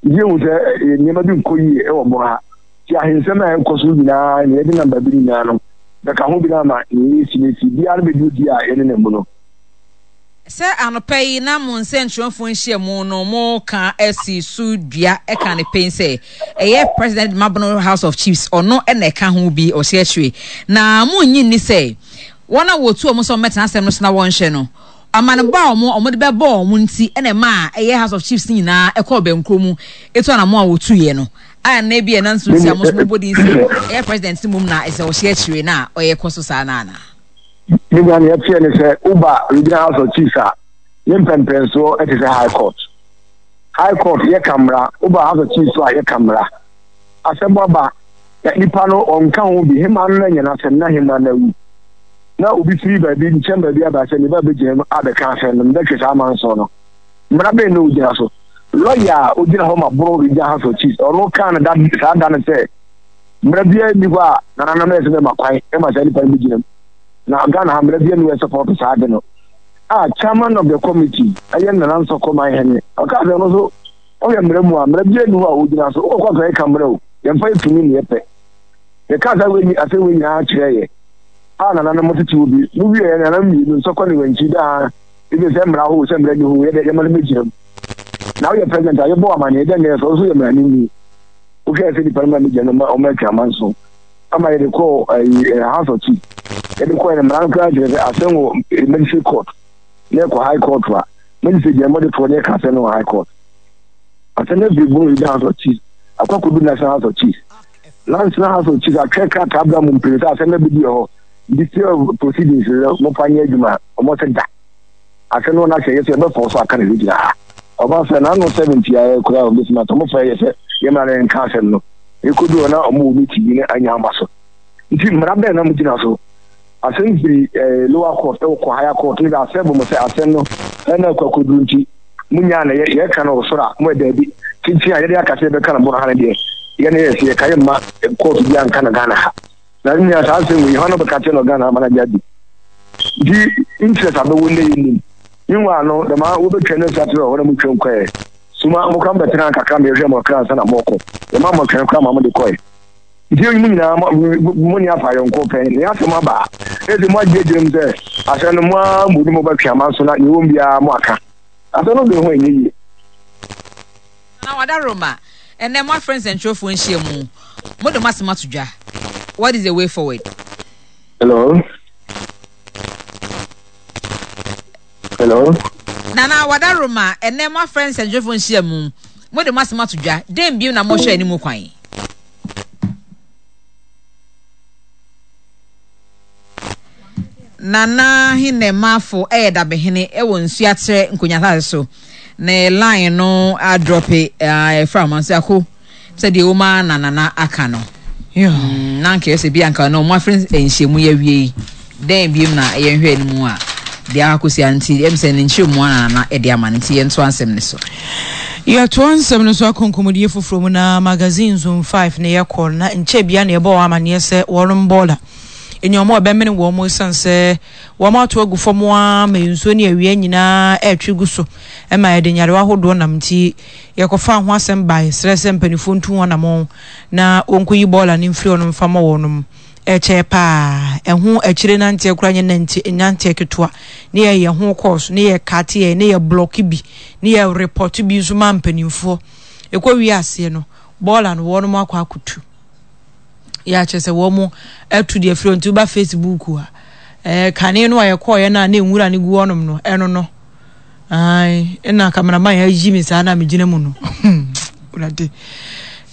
nti ehu sɛ nneɛma bi nkɔ yie ɛwɔ bɔn ha ti ahensɛm a ɛkɔ so nyinaa ne yɛde nam baabi nyinaa no bɛka ho bi no ama ne yɛsi ne si biara no bɛdi odi a yɛne nam mu no. Sɛ anɔpa yi na mo nsɛnkyerɛwfoɔ nhyiamu no mo ka si so dua ka no pen sɛ ɛyɛ President Mabono House of Chiefs ɔno na ɛka ho bi ɔhyɛ akyire na mo nnye nni sɛ wɔn a wɔtu wɔn sɛ wɔmmɛtena asɛm no so na wɔnhwɛ no amanebɔ a wɔn wɔde bɛbɔ wɔn nti na ɛmaa ɛyɛ House of Chiefs no nyinaa ɛkɔɔ bɛnkuro mu etu anamɔ a wɔtuiɛ no a na ebi ɛna nso nti a mo nso mobɔ din sɛ ɛyɛ President mmom na ɛsɛ ɔhyɛ akyire na ɔyɛ kɔ so saa na anaa. Ne nua nea ɛteɛ ne sɛ woba Regional House of Chiefs a, ne mpɛmpɛnsoɔ te sɛ High Court. High Court yɛka mmara, woba House of Chiefs so a yɛka mmara. Asɛm aba, na nipa no ɔnka ho bi, hema no na anya n'asɛm na hema no awu. Na obi firi baabi nkyɛn baabi aba sɛ ne ba bɛgyina mu abɛka asɛm no, mebɛtwe saa amanson no. Mmara bɛn na ogyina so? Lɔya a ogyina hɔ ma Bono Regional House of Chiefs, ɔno kaa no da saa da no sɛ, Mmara biara nni hɔ a nananom yɛ sɛ bɛma kwan ma saa nipa no bɛgyina mu. Na Ghana ha mmara biara nni hɔ a ɛsɔpɔto saa ade no. A chairman of the committee ɛyɛ Nana Nsɔkɔ Manhene, ɔkaa sɛ ɔno nso ɔhwɛ mmara mu a mmara biara nni hɔ a ɔgyina so. Wokɔ kɔɔto a yɛka mmara o, yɛmfa yɛ tumi ne yɛpɛ. Yɛkaa saa wei asɛm wei nyinaa kyerɛɛ yɛ a nananom tete hɔ bi. Mo wieɛ nananom mmienu Nsɔkɔ ne Wankyi daa ebi sɛ mmara hɔ o sɛ mmara nni hɔ o yɛde yɛma no bɛgyina mu. Na woyɛ president a yɛbɔ wo amaneɛ dɛn na ɛyɛ sɛ wo nso yɛ mmaranimni. Wohwɛɛ sɛ nipa no ma megya no ma ɔma atwa amanso ama yɛde kɔɔ ayi eh, House of Chiefs. Yɛde kɔɛ no mmara no koraa kyerɛ sɛ asɛm wɔ eh, magistrate court na ɛkɔ high court a magistrate gyina mɔde toɔ na ɛka asɛm no wɔ high court. Asɛm no afiri Bono Region House of Chiefs akɔ akɔdu National House of Chiefs. National House of Chiefs atwerɛ krataa bra mu mpere sɛ asɛm no abɛdi hɔ nti stay of proceedings no mofa nyɛ adwuma ɔmo sɛ da. Asɛm no na sɛ yɛ sɛ yɛbɛfɔɔ so aka no gyina ha. Ɔba sɛ n'ano 70 a ɛkura a ɔbɛtumi atɔ. Wɔfrɛ yɛ sɛ yɛmmra na yɛnka asɛm no. Yɛkɔduu hɔ na wɔwɔ meeting bi na anya aba so. Nti mmara bɛn na mogyina so? Asɛm firi eh, lower court ɛwɔ kɔ higher court ne bɛ asɛm bɔ mo sɛ asɛm no ɛna akɔ akɔduru nti monyaa na yɛka no wɔ soro a mo daabi. Tenten a yɛde aka sɛ yɛbɛka no bono ha no deɛ yɛne yɛ sɛ yɛka yɛmma court bi anka no Ghana ha. Na nua saa asɛm wei hwan na ɔbɛka kyerɛ no Ghana ama no agye adi? Nti interest abɛwɔ ndɛ yɛ nim. Meanwhile no dɛm a wobɛtwa no nsa terɛ hɔ na motwam kɔɛ. Suma mo koraa mobɛtena kakra ma yɛhwɛ mo kakra ansa na mɔkɔ. Yɛma mo twɛn koraa ma mode kɔɛ. Nti mo nyinaa mo ne afa ayɔnko pɛn na yɛasɛm aba a na ɛsɛ mo agye agyina mu sɛ asɛm no mo ara mo ne mobɛtwe amanso na deɛ ɛwɔ mu biara mo aka. Asɛm no dwen ho ɛnyɛ yie. Nana Wadaroma, ɛnnɛ moafrɛ nsɛntwerɛfoɔ nhyiamu, mode mo asɛm ato dwa, what is the way forward? Hello. Hello. Nana Wadaroma, ɛnnɛ moafrɛ nsɛntwerɛfoɔ nhyiamu, mode mo asɛm ato dwa, dɛn bio na mohwɛ anim kwan? Nana Henemafo yɛ dabehene wɔ Nsuaterɛ Nkonya asase so. Ne line no adrɔpe ɛfra ahoma nso ako sɛ deɛ ɛwɔ mu ara na Nana aka no. Mm, na anka ɛsɛ bi anka no ɔmo afrɛ nhyiamu yi awie yi dɛn biom na yɛnhwɛ no mu a deɛ akɔsi a nti ɛm sɛ ne nkyerɛmu ara na Nana ɛde ama no nti yɛntoa nsɛm no so. Yɛtoa nsɛm no so akɔ nkɔmmɔdie foforɔ mu na magazine zone 5 na yɛkɔ na nkyɛ bia na yɛbɔ wɔn amaneɛ sɛ wɔnom bɔɔla nneɛma a ɛbɛmene wɔn ɛsiane sɛ wɔn ato agu fam ara ma nsuo ne awia nyinaa ɛretwe gu so ma ɛde nyarewa ahodoɔ nam nti yɛkɔfaa ho asɛm bae srɛ sɛ mpanimfoɔ ntu ho anamɔn na wɔnkɔyi bɔɔla no mfiri hɔ no mfa ma wɔnom. Ɛkyɛɛ paa, ɛho akyire nanteɛ koraa nyɛ nante nanteɛ ketewa, ne yɛyɛ ho course, ne yɛ kate yɛ, ne yɛ blɔke bi, ne yɛ report bi nso ma mpanimfoɔ. Ɛkɔ wie aseɛ no, bɔɔla no wɔnom akɔ akɔtu. Yɛ akyerɛ sɛ wɔn atu deɛ firi nti woba Facebook a, ɛɛ kane no a yɛkɔɔyɛ no a na nwura no gu hɔnom no, ɛno no. Ae, ɛna cameraman ayi me saa na megyina mu no. Wurade.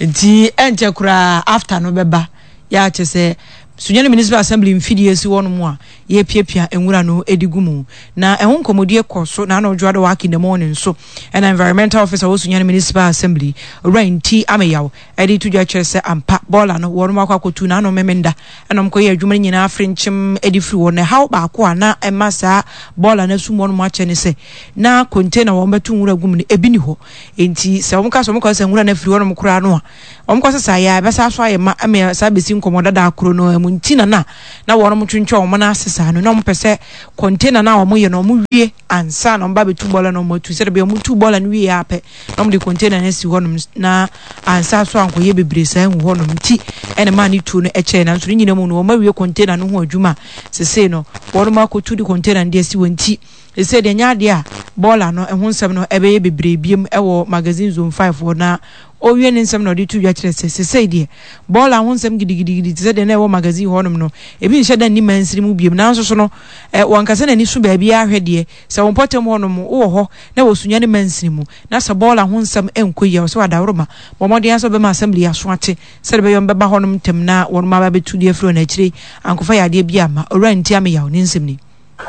Nti ɛnkyɛ koraa after no bɛba. Yɛ akyɛ sɛ. Sunyani Municipal Assembly mfidie si hɔnom a yɛrepiapia nwura no de gu mu. Na ɛho nkɔmmɔdie kɔ so na ano dwoa wɔ in the morning nso ɛna Environmental Officer wɔ Sunyani Municipal Assembly, Owura Nti Ameyaw de to dwa kyerɛ sɛ ampa bɔɔla no wɔnom akɔ akɔtu na ano Memenda ɛna wɔn kɔyɛ adwuma no nyinaa frenkyem de firi hɔ. Na ɛhaw baako a na ɛma saa bɔɔla no asum wɔnom akyɛ ne sɛ na container wɔn bɛto nwura gu mu no ebi ni hɔ. Enti sɛ wɔn ka sɛ wɔn kɔ sɛ nwura no afiri hɔnom koraa no a Wɔn kɔ sesa yɛ a, ɛbɛsa so ayɛ ma ama saa bɛsi nkɔmmɔ dada koro no ara mu. Nti na na na wɔn twentwɛn wɔn nan ase saa no. Na wɔn pɛ sɛ container no a wɔn yɛ no wɔn wie ansa na wɔn ba bɛtu bɔɔla na wɔn atu. Sɛdeɛ bɛyɛ wɔn tu bɔɔla no wie ara pɛ na wɔn de container no asi hɔnom na ansa so ankɔyɛ bebree saa ngu hɔnom. Nti ɛna maa ne tuo no kyɛɛ. Nanso ne nyinaa mu no wɔn awie container no ho adwuma a sesei no wɔn akɔtu de container no de asi hɔ nti sesei deɛ ɛnyɛ adeɛ a bɔɔla no ho nsɛm no ɛbɛyɛ bebree biom wɔ Magazine Zone 5 hɔ na Ɔrewie ne nsɛm na ɔde to dwa kyerɛ sɛ, Sesei deɛ, bɔɔla ho nsɛm gidigidigidi te sɛ deɛ na ɛwɔ magazine hɔnom no, ebi nhyɛ da nni mansini mu bio. Nanso so no, ɛ, wɔnka sɛ n'ani so baabiara hwɛ deɛ, sɛ wo mpɔtam hɔnom, wowɔ hɔ na wɔ Sunyani mansini mu, na sɛ bɔɔla ho nsɛm nkɔ yie a, ɔsɛ w'adaworoma. Bɔ mmɔden ara sɛ wobɛma assembly yi aso ate, sɛdeɛ ɛbɛyɛ wɔbɛba hɔnom ntɛm na wɔnom aba abɛtu de afiri hɔ na akyire yi ankɔfa yadeɛ bi amma. Owura Ntiameyaw, ne nsɛm ni.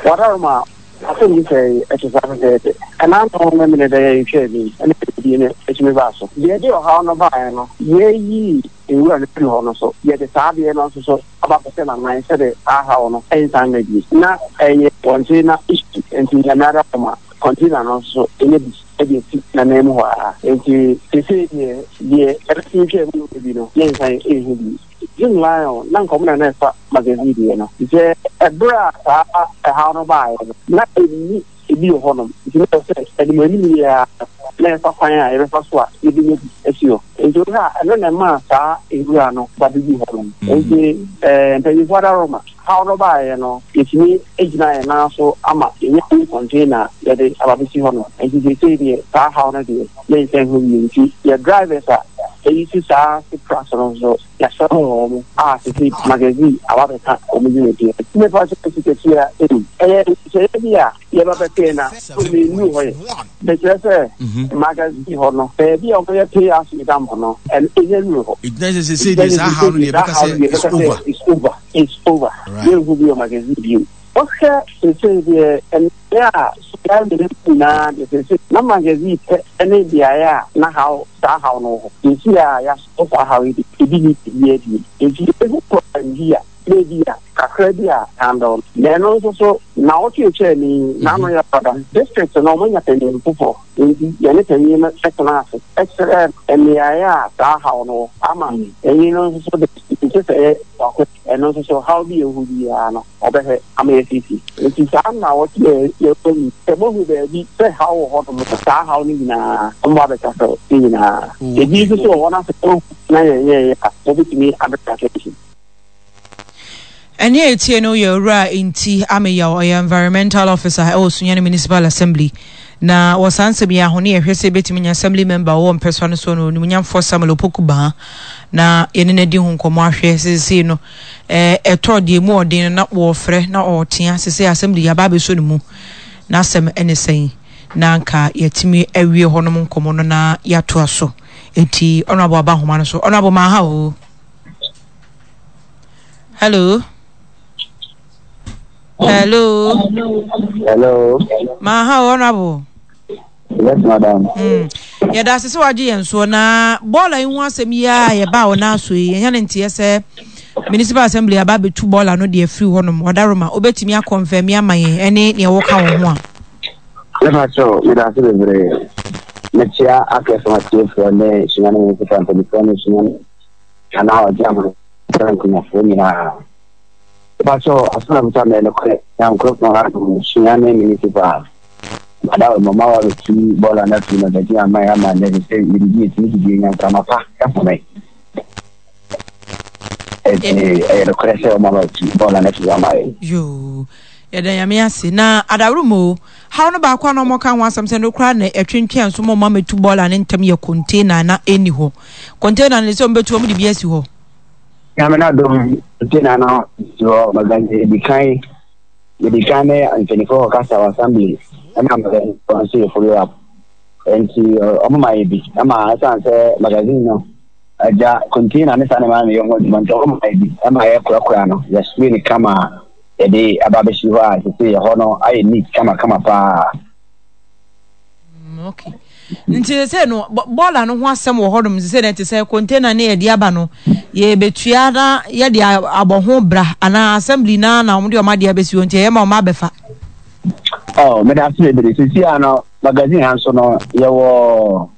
W'adaworoma asɛm yi sɛe ɛte saa pɛpɛɛpɛ. Ɛna ano Memeneda yi a yɛtwaa mu yi na dwumadie no tumi baa so. Deɛ ɛde ɔhaw no baeɛ no, yɛyii nwura no firii hɔ no so, yɛde saa adeɛ no nso so aba abɛhyɛ n'anan sɛdeɛ saa haw no nsan mma bio. Na ɛyɛ container issue nti Nyame adaworoma container no nso so yɛnya bi de asi n'anan mu hɔ ara. Nti seesei deɛ, deɛ ɛbɛtumi twaa mu no bi no, yɛnsan nhu bio. Jim Lyon, na anka wɔn na na ɛfa magazine deɛ no. Sɛ ɛberɛ a saa ɛhaw no baeɛ no, na ɛnni ebi wɔ hɔnom. Nti na ɛwɔ sɛ anim anim yi ara na yɛfa kwan a yɛbɛfa so a yɛbɛnya bi asi hɔ. Nti wohwɛ a, ɛno na ɛmaa saa nwura no ba bɛguu hɔnom. Nti eh, mpanyinfoɔ adaworoma, haw no baeɛ no, yɛtumi gyinaa yɛn nan so ama yɛnya new container a yɛde aba bɛsi hɔnom. Nti seesei deɛ, saa haw no deɛ, yɛnsan nhu bio. Nti yɛ drivers a yɛyi saa trucks no nso, Yɛasɛe wɔn a seesei magazine aba abɛka wɔn dwumadie ho. Mepa kyɛw sikatua ei, ɛyɛ nhyehyɛeɛ bi a yɛba bɛtee na mennuu hɔ yɛ. Mekyerɛ sɛ magazine hɔ no, baabi a wɔyɛ pay as you dump no, ɛno ɛnya nnuru hɔ. Ɛgyina sɛ seesei deɛ saa haw no deɛ yɛbɛka sɛ it's over. It's over, it's over. Yɛnhu bi wɔ magazine bio. Wohwɛ seesei deɛ mmeaeɛ a solar no nyinaa deɛ seesei na magazine pɛ ne beaeɛ a na haw saa haw no wɔ hɔ. Seesei a yɛasɔ saa haw yi deɛ ebi nni baabiara bio. Enti yɛbɛhu problem bi a na ebi a kakra bi a handle no. Na ɛno nso so nnawɔtwe a ɛtwaa mu yi n'ano yɛ ɔda. District no wɔanya panyin foforɔ enti yɛne panyin no tenaa ase kyerɛɛ no mmeaeɛ a saa haw no wɔ ama panyin no nso so de nhyehyɛeɛ baako Ɛno nso so, haw bi a ɛwɔ hɔ biara no, ɔbɛhwɛ ama yɛasiesie. Enti saa nnawɔtwe a yɛwɔ mu yi, sɛ moahu baabi sɛ haw wɔ hɔnom a, saa haw no nyinaa, wɔmmɔ abɛkasa ne nyinaa. Ebi nso so wɔ hɔ na sɛ moahu na yɛnyɛeɛ a, mobɛtumi abɛka attention. Ɛnne a yɛtie no yɛ Owura Nti Ameyaw, ɔyɛ Environmental Officer wɔ Sunyani Municipal Assembly. Na wɔ saa nsɛm yi ara ho ne yɛhwɛ sɛ yɛbɛtumi anya Assembly Member a ɔwɔ mpɛsoa no soɔ no, Onimuonyamfoɔ Samuel Opoku Baah, na yɛne no adi ho nkɔmmɔ ahwɛ seesei no ɛtɔ deɛ mu ɔden no na wɔfrɛ na ɔtea seesei Assembly yɛaba abɛsɔ ne mu n'asɛm ne sɛn na anka yɛatumi awie hɔnom nkɔmmɔ no na yɛatoa so. Enti Honourable aba nhoma no so. Honourable Maaha o. Hello. Hello. Hello. Maaha o Honourable. Yes, madam. Yɛda ase sɛ wagye yɛn soɔ na bɔɔla yi ho asɛm yi a yɛbaa wo nan so yi yɛnya ne nteɛ sɛ municipal assembly aba abɛtu bɔɔla no deɛ afiri hɔnom ɔdaroma wobɛtumi akɔnfɛmi ama yɛn ɛne neɛ wɔka wo ho a. Mepa kyɛw, meda ase bebree. Mekyia akɛse atiefoɔ ne Sunyani municipal mpanimfoɔ ne Sunyani anaa ɔgye amane nkunyafoɔ nyinaa. Mepa kyɛw, asɛm a ɛbusa mɛ nokorɛ Nyankoropɔn adom Sunyani municipal. Ada wɔ mama wa bɛtu bɔɔla no afiri magazine ama yɛ ama nnɛ sɛ yɛdidi yɛtumi didi yɛnya mframa pa home. Ɛti ɛyɛ nokorɛ sɛ ɔma bɛtu bɔɔla no afiri ama yɛ. Yoo, yɛda Nyame ase. Na adaworo mu o, haw no baako a na wɔka ho asɛm sɛ no koraa na ɛtwentwɛn so ma ɔma mɛtu bɔɔla no ntɛm yɛ container na ɛnni hɔ. Container no sɛ wɔbɛtu wɔn de bi asi hɔ. Nyame no adom container no si hɔ magazine di kan. Mede kan ne mpanyinfoɔ kɔ kasa wɔ assembly ɛna magazine nso yɛ follow up nti ɔmo ma yɛ bi ɛma ɛsan sɛ magazine no. Agya, container ne saa nneɛma no na yɛyɛ ho adwuma nti wɔma yɛ bi ma yɛkorakora no, yɛ spray no kama a yɛde aba abɛsi hɔ a seesei ɛhɔ no ayɛ neat kamakama paa. Mm, okay. Nti sɛ no bɔɔla no ho asɛm wɔ hɔnom sɛ na ɛte sɛ container ne yɛde aba no yɛbɛtua na yɛde abɔ ho bra anaa assembly na na wɔde wɔn adeɛ abɛsi hɔ nti ɛyɛ ma wɔn abɛfa. Oh, meda ase bebree. Sisi a no magazine ha nso no yɛwɔ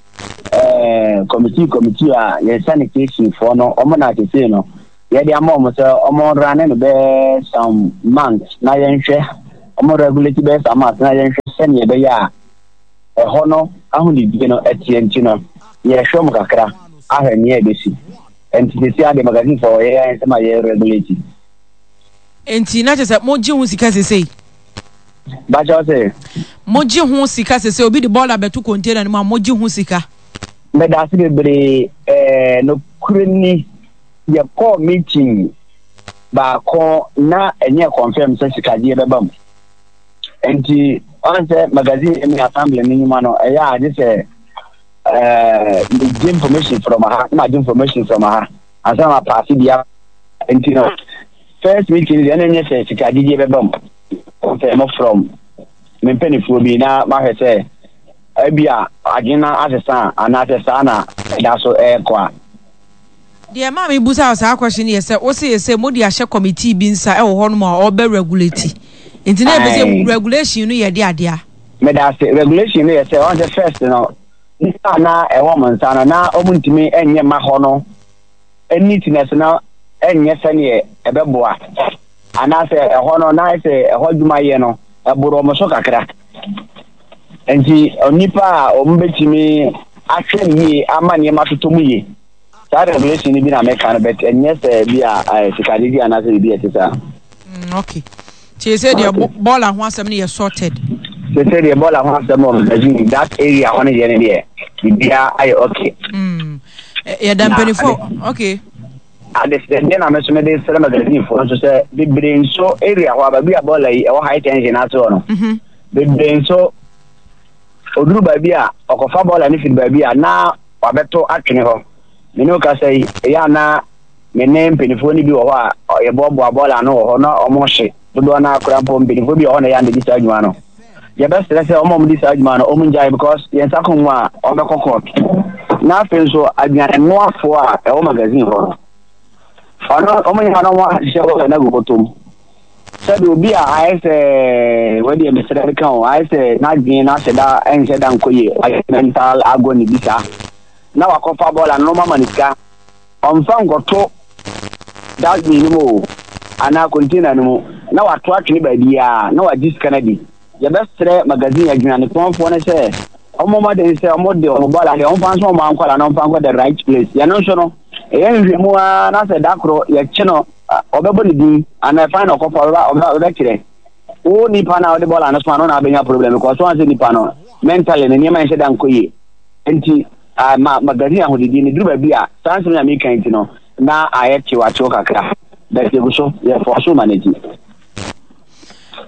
eh, committee committee a yɛn sanitation foɔ no wɔn na sisi no yɛde ama wɔn sɛ wɔn rane no bɛyɛ some months na yɛnhwɛ wɔn regulate bɛyɛ some months na yɛnhwɛ sɛnea ɛbɛyɛ a ɛhɔ no ahonidie no ɛteɛ nti no yɛhwɛ wɔn kakra ahwɛ nea ɛbɛsi nti sisi ade magazine foɔ yɛ yɛn nsɛm a yɛ regulate. Nti na kyerɛ sɛ mogye ho sika sesei? Bakyɛ ɔse. Mogye ho sika sesei obi de bɔɔla bɛto container no mu a mogye ho sika? Medase bebree ɛɛ nokorɛ ni yɛkɔɔ meeting baako na ɛnyɛ confirm sɛ sikagyeɛ bɛba mu nti ɔn sɛ magazine ne assembly no nnwuma no ɛyɛ a gye sɛ ɛɛ megye information from ha na magye information from ha ansa na mapaase bi nti no first meeting deɛ ɛna nyɛ sɛ sika gyegye bɛba mu confirm from me mpanimfoɔ bi na mahwɛ sɛ ebi a adwene no asesa a anaasɛ saa na ɛda so ɛrekɔ a. Deɛ ɛmaa me busaa saa question no yɛ sɛ wose yɛ sɛ mode ahyɛ committee bi nsa ɛwɔ hɔ nom a ɔbɛ regulate nti na yɛpɛ sɛ regulation no yɛ de adeɛ a. Meda ase regulation no yɛ sɛ ɔn sɛ first no nipa a na ɛwɔ wɔn nsa no na wɔn ntumi nyɛ ma hɔ no neatness no nyɛ sɛdeɛ ɛbɛboa anaasɛ ɛhɔ no na ayɛ sɛ ɛhɔ adwuma yɛ no ɛboro wɔn so kakra nti onipa a wɔn bɛtumi ahwɛ no yie ama nneɛma atotɔ mu yie saa regulation no bi na meka no but ɛnyɛ sɛ bi a sikagyegye anaasɛ biribi a ɛte saa. Mm, okay. Nti sɛ deɛ bɔɔla ho asɛm no yɛ sorted. Sɛ sɛ deɛ bɔɔla ho asɛm wɔ magazine that area hɔ no deɛ no deɛ biribiara ayɛ okay. Mm. Yɛda mpanimfoɔ okay. Adesrɛdeɛ na me nso mede srɛ magazine foɔ nso sɛ bebree nso area hɔ a baabi a bɔɔla yi ɛwɔ high tension ase hɔ no mhm. bebree nso oduru baabi a ɔkɔfa bɔɔla no firi baabi a na wabɛto atwene hɔ me ne wo kasa yi ɛyɛ a na Me ne mpanimfoɔ no bi wɔ hɔ a yɛboaboa bɔɔla ano wɔ hɔ na wɔhye. Dodoɔ no ara koraa mpo mpanimfoɔ bi wɔ hɔ na ɛyɛ a na ɛdi saa adwuma no. Yɛbɛsrɛ sɛ wɔn a wɔdi saa adwuma no wɔn ngyae because yɛn nsa ka wɔn a wɔbɛkɔ court. Na afei nso aduanenoafoɔ a ɛwɔ magazine hɔ no ɔno wɔn nyinaa na wɔn ahyehyɛ bɔɔla no agu bɔtɔ mu. Sɛdeɛ obi a ayɛ sɛ wɔdeɛ mesrɛ meka o ayɛ sɛ n'adwene no ahyɛ da ɛnhyɛ da nkɔ yie wayɛ mental agony bi saa na wakɔfa bɔɔla no na wɔama no sika. Ɔmfa nkɔto dustbin no mu o, anaa container no mu, na wato atwene baabiara, na wagye sika no adi. Yɛbɛsrɛ magazine adwunnanetɔnfoɔ no sɛ wɔmmɔ mmɔden sɛ wɔde wɔn bɔɔla deɛ wɔmfa nso wɔn nkwadaa na wɔmfa nkɔ the right place. Yɛno nso no, yɛyɛ nhwehwɛmu ara na sɛ da koro yɛkye no, wɔbɛbɔ ne din anaa ɛfan na ɔkɔfa ɔbɛkyerɛ. Wo nipa no a wode bɔɔla no soma no na abɛnya problem because wɔn sɛ nipa no mentally ne nneɛma nhyɛ da nkɔ yie. Nti Ah, ma magazine ahodidi no duru baabi a, saa nsɛm yi a meka yi nti no, na ayɛ kyew-akyew kakra. But yɛgu so, yɛfoa so ma no nti.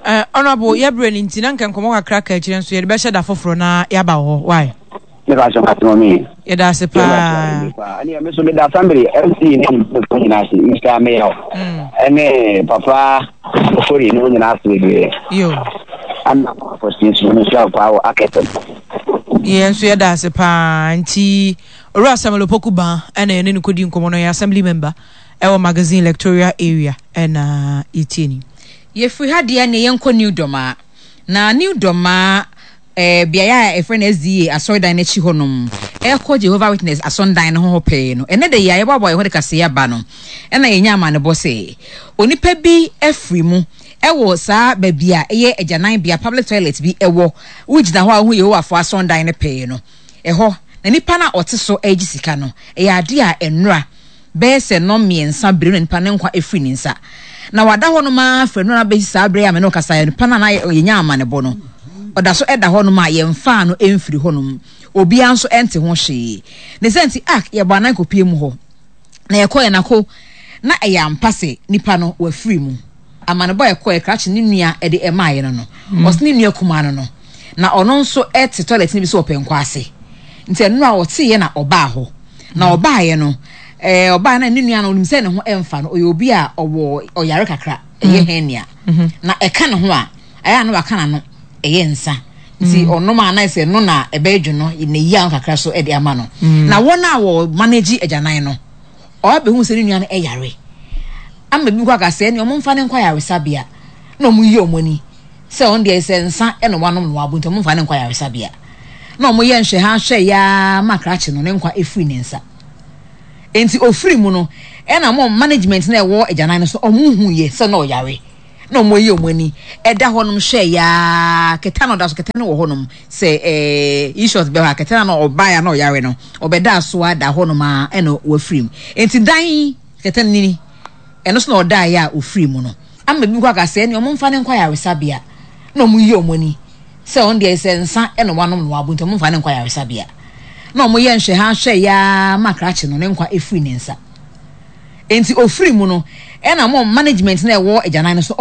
Eh, Honorable, yɛbrɛ no nti, na nka nkɔmmɔ kakra ka akyire nso yɛde bɛhyɛ da foforɔ na yɛaba wɔ hɔ. Why? Ne fa so mate mɔmi. Yɛda ase paa. Ɛne me so meda assembly MC ne mpanyinfoɔ nyinaa ase, Mr. Mayor. Ɛne papa Ofori ne wɔn nyinaa ase bebree. Yo. Ana Papa nso no nhyira wo paa wɔ akɛsɛm. Yɛn nso yɛda ase paa nti Owura Samuel Opoku Ban ɛna yɛne no kɔdi nkɔmmɔ no ɔyɛ assembly member ɛwɔ magazine electoral area ɛna yɛtie ni. Yɛfiri ha deɛ neɛ yɛnkɔ New Dormaa. Na New Dormaa eh, beaeɛ a yɛfrɛ no SDA asɔredan no akyi hɔnom, ɛrekɔ Jehovah Witness asɔndan no ho hɔ pɛɛ no, ɛnnɛ da yi a yɛboaboa yɛn ho de kaseɛ aba no, ɛna yɛnya amanebɔ sɛ onipa bi afiri mu wɔ saa baabi a ɛyɛ agyananbea, public toilet bi wɔ, wogyina hɔ a wohu Yehowafoɔ asɔndan no pɛɛ no, ɛhɔ na nipa no a ɔte so regye sika no, ɛyɛ adeɛ a nnora bɛyɛ sɛ nnɔnmiɛnsa bere na nipa no nkwa afiri ne nsa. Na wada hɔnom ara firi nnora bɛsi saa bere a me ne wo kasa yi, nipa no a na yɛnya amanebɔ no, ɔda so da hɔnom a yɛmfaa no mfiri hɔnom. Obiara nso nte ho hwee. Ne sɛ nti, ak, yɛbɔ anan kɔpie mu hɔ. Na yɛkɔeɛ no ako, na ɛyɛ ampa sɛ nipa no wafiri mu. Amanebɔ a ɛkɔeɛ krakye ne nua de maaeɛ no no, ɔse ne nua kumaa no no, na ɔno nso te toilet no bi so wɔ pɛnkɔ ase. Nti ɛno a ɔteeɛ na ɔbaa hɔ. Na ɔbaeɛ no, Ɛɛ ɔbaa na ne nua no onim sɛ ne ho ɛmfa no, ɔyɛ obi a ɔwɔ ɔyare kakra, ɛyɛ mm. hernia. Mm-hmm. Na ɛka ne ho a, ɛyɛ a na waka n'ano, ɛyɛ nsa. Nti mm. ɔnom a na ɛsɛ no na ɛbɛyɛ dwo no, na eyi ano kakra so ɛde ama no. Mm. Na wɔn a wɔ manage agyanan no, ɔabɛhu sɛ ne nua no ɛyare. Ama bi kɔ aka sɛ ɛne ɔmo mfa ne nkɔ ayaresabea na ɔmo yi ɔmo ani sɛ ɔno deɛ sɛ nsa ɛna wanom na wabo nti ɔmo mfa ne nkɔ ayaresabea. Na ɔmo yɛ nhwɛ ha hwɛ yaa ma krakye no ne nkwa efiri ne nsa. Enti ofiri mu no, ɛna mo management na ɛwɔ agyanan no so, ɔmo hu yɛ sɛ na ɔyare. Na ɔmo ayi ɔmo ani ɛda hɔ nom hwɛ yaa kɛtɛ na ɔda so kɛtɛ no wɔ hɔ nom sɛ ɛɛ ishort bɛ hɔ a kɛtɛ na ɔbaa ya na ɔyare no ɔbɛda so a da hɔ nom a ɛna wafiri mu. Enti dan kɛtɛ no nini ɛno so na ɔda yɛ a ofiri mu no. Ama bi kɔ aka sɛ ɛne ɔmo nfa ne nkɔ ayaresabea na ɔmo yi ɔmo ani. Sɛ ɔno deɛ sɛ nsa na wanom na wabo nti ɔmo nfa no nkɔ ayaresabea. Na ɔmo yɛ nhwɛha hwɛ yaa ma krakye no ne nkwa efiri ne nsa. Enti ofiri mu no ɛna mo management na ɛwɔ agyanan no so.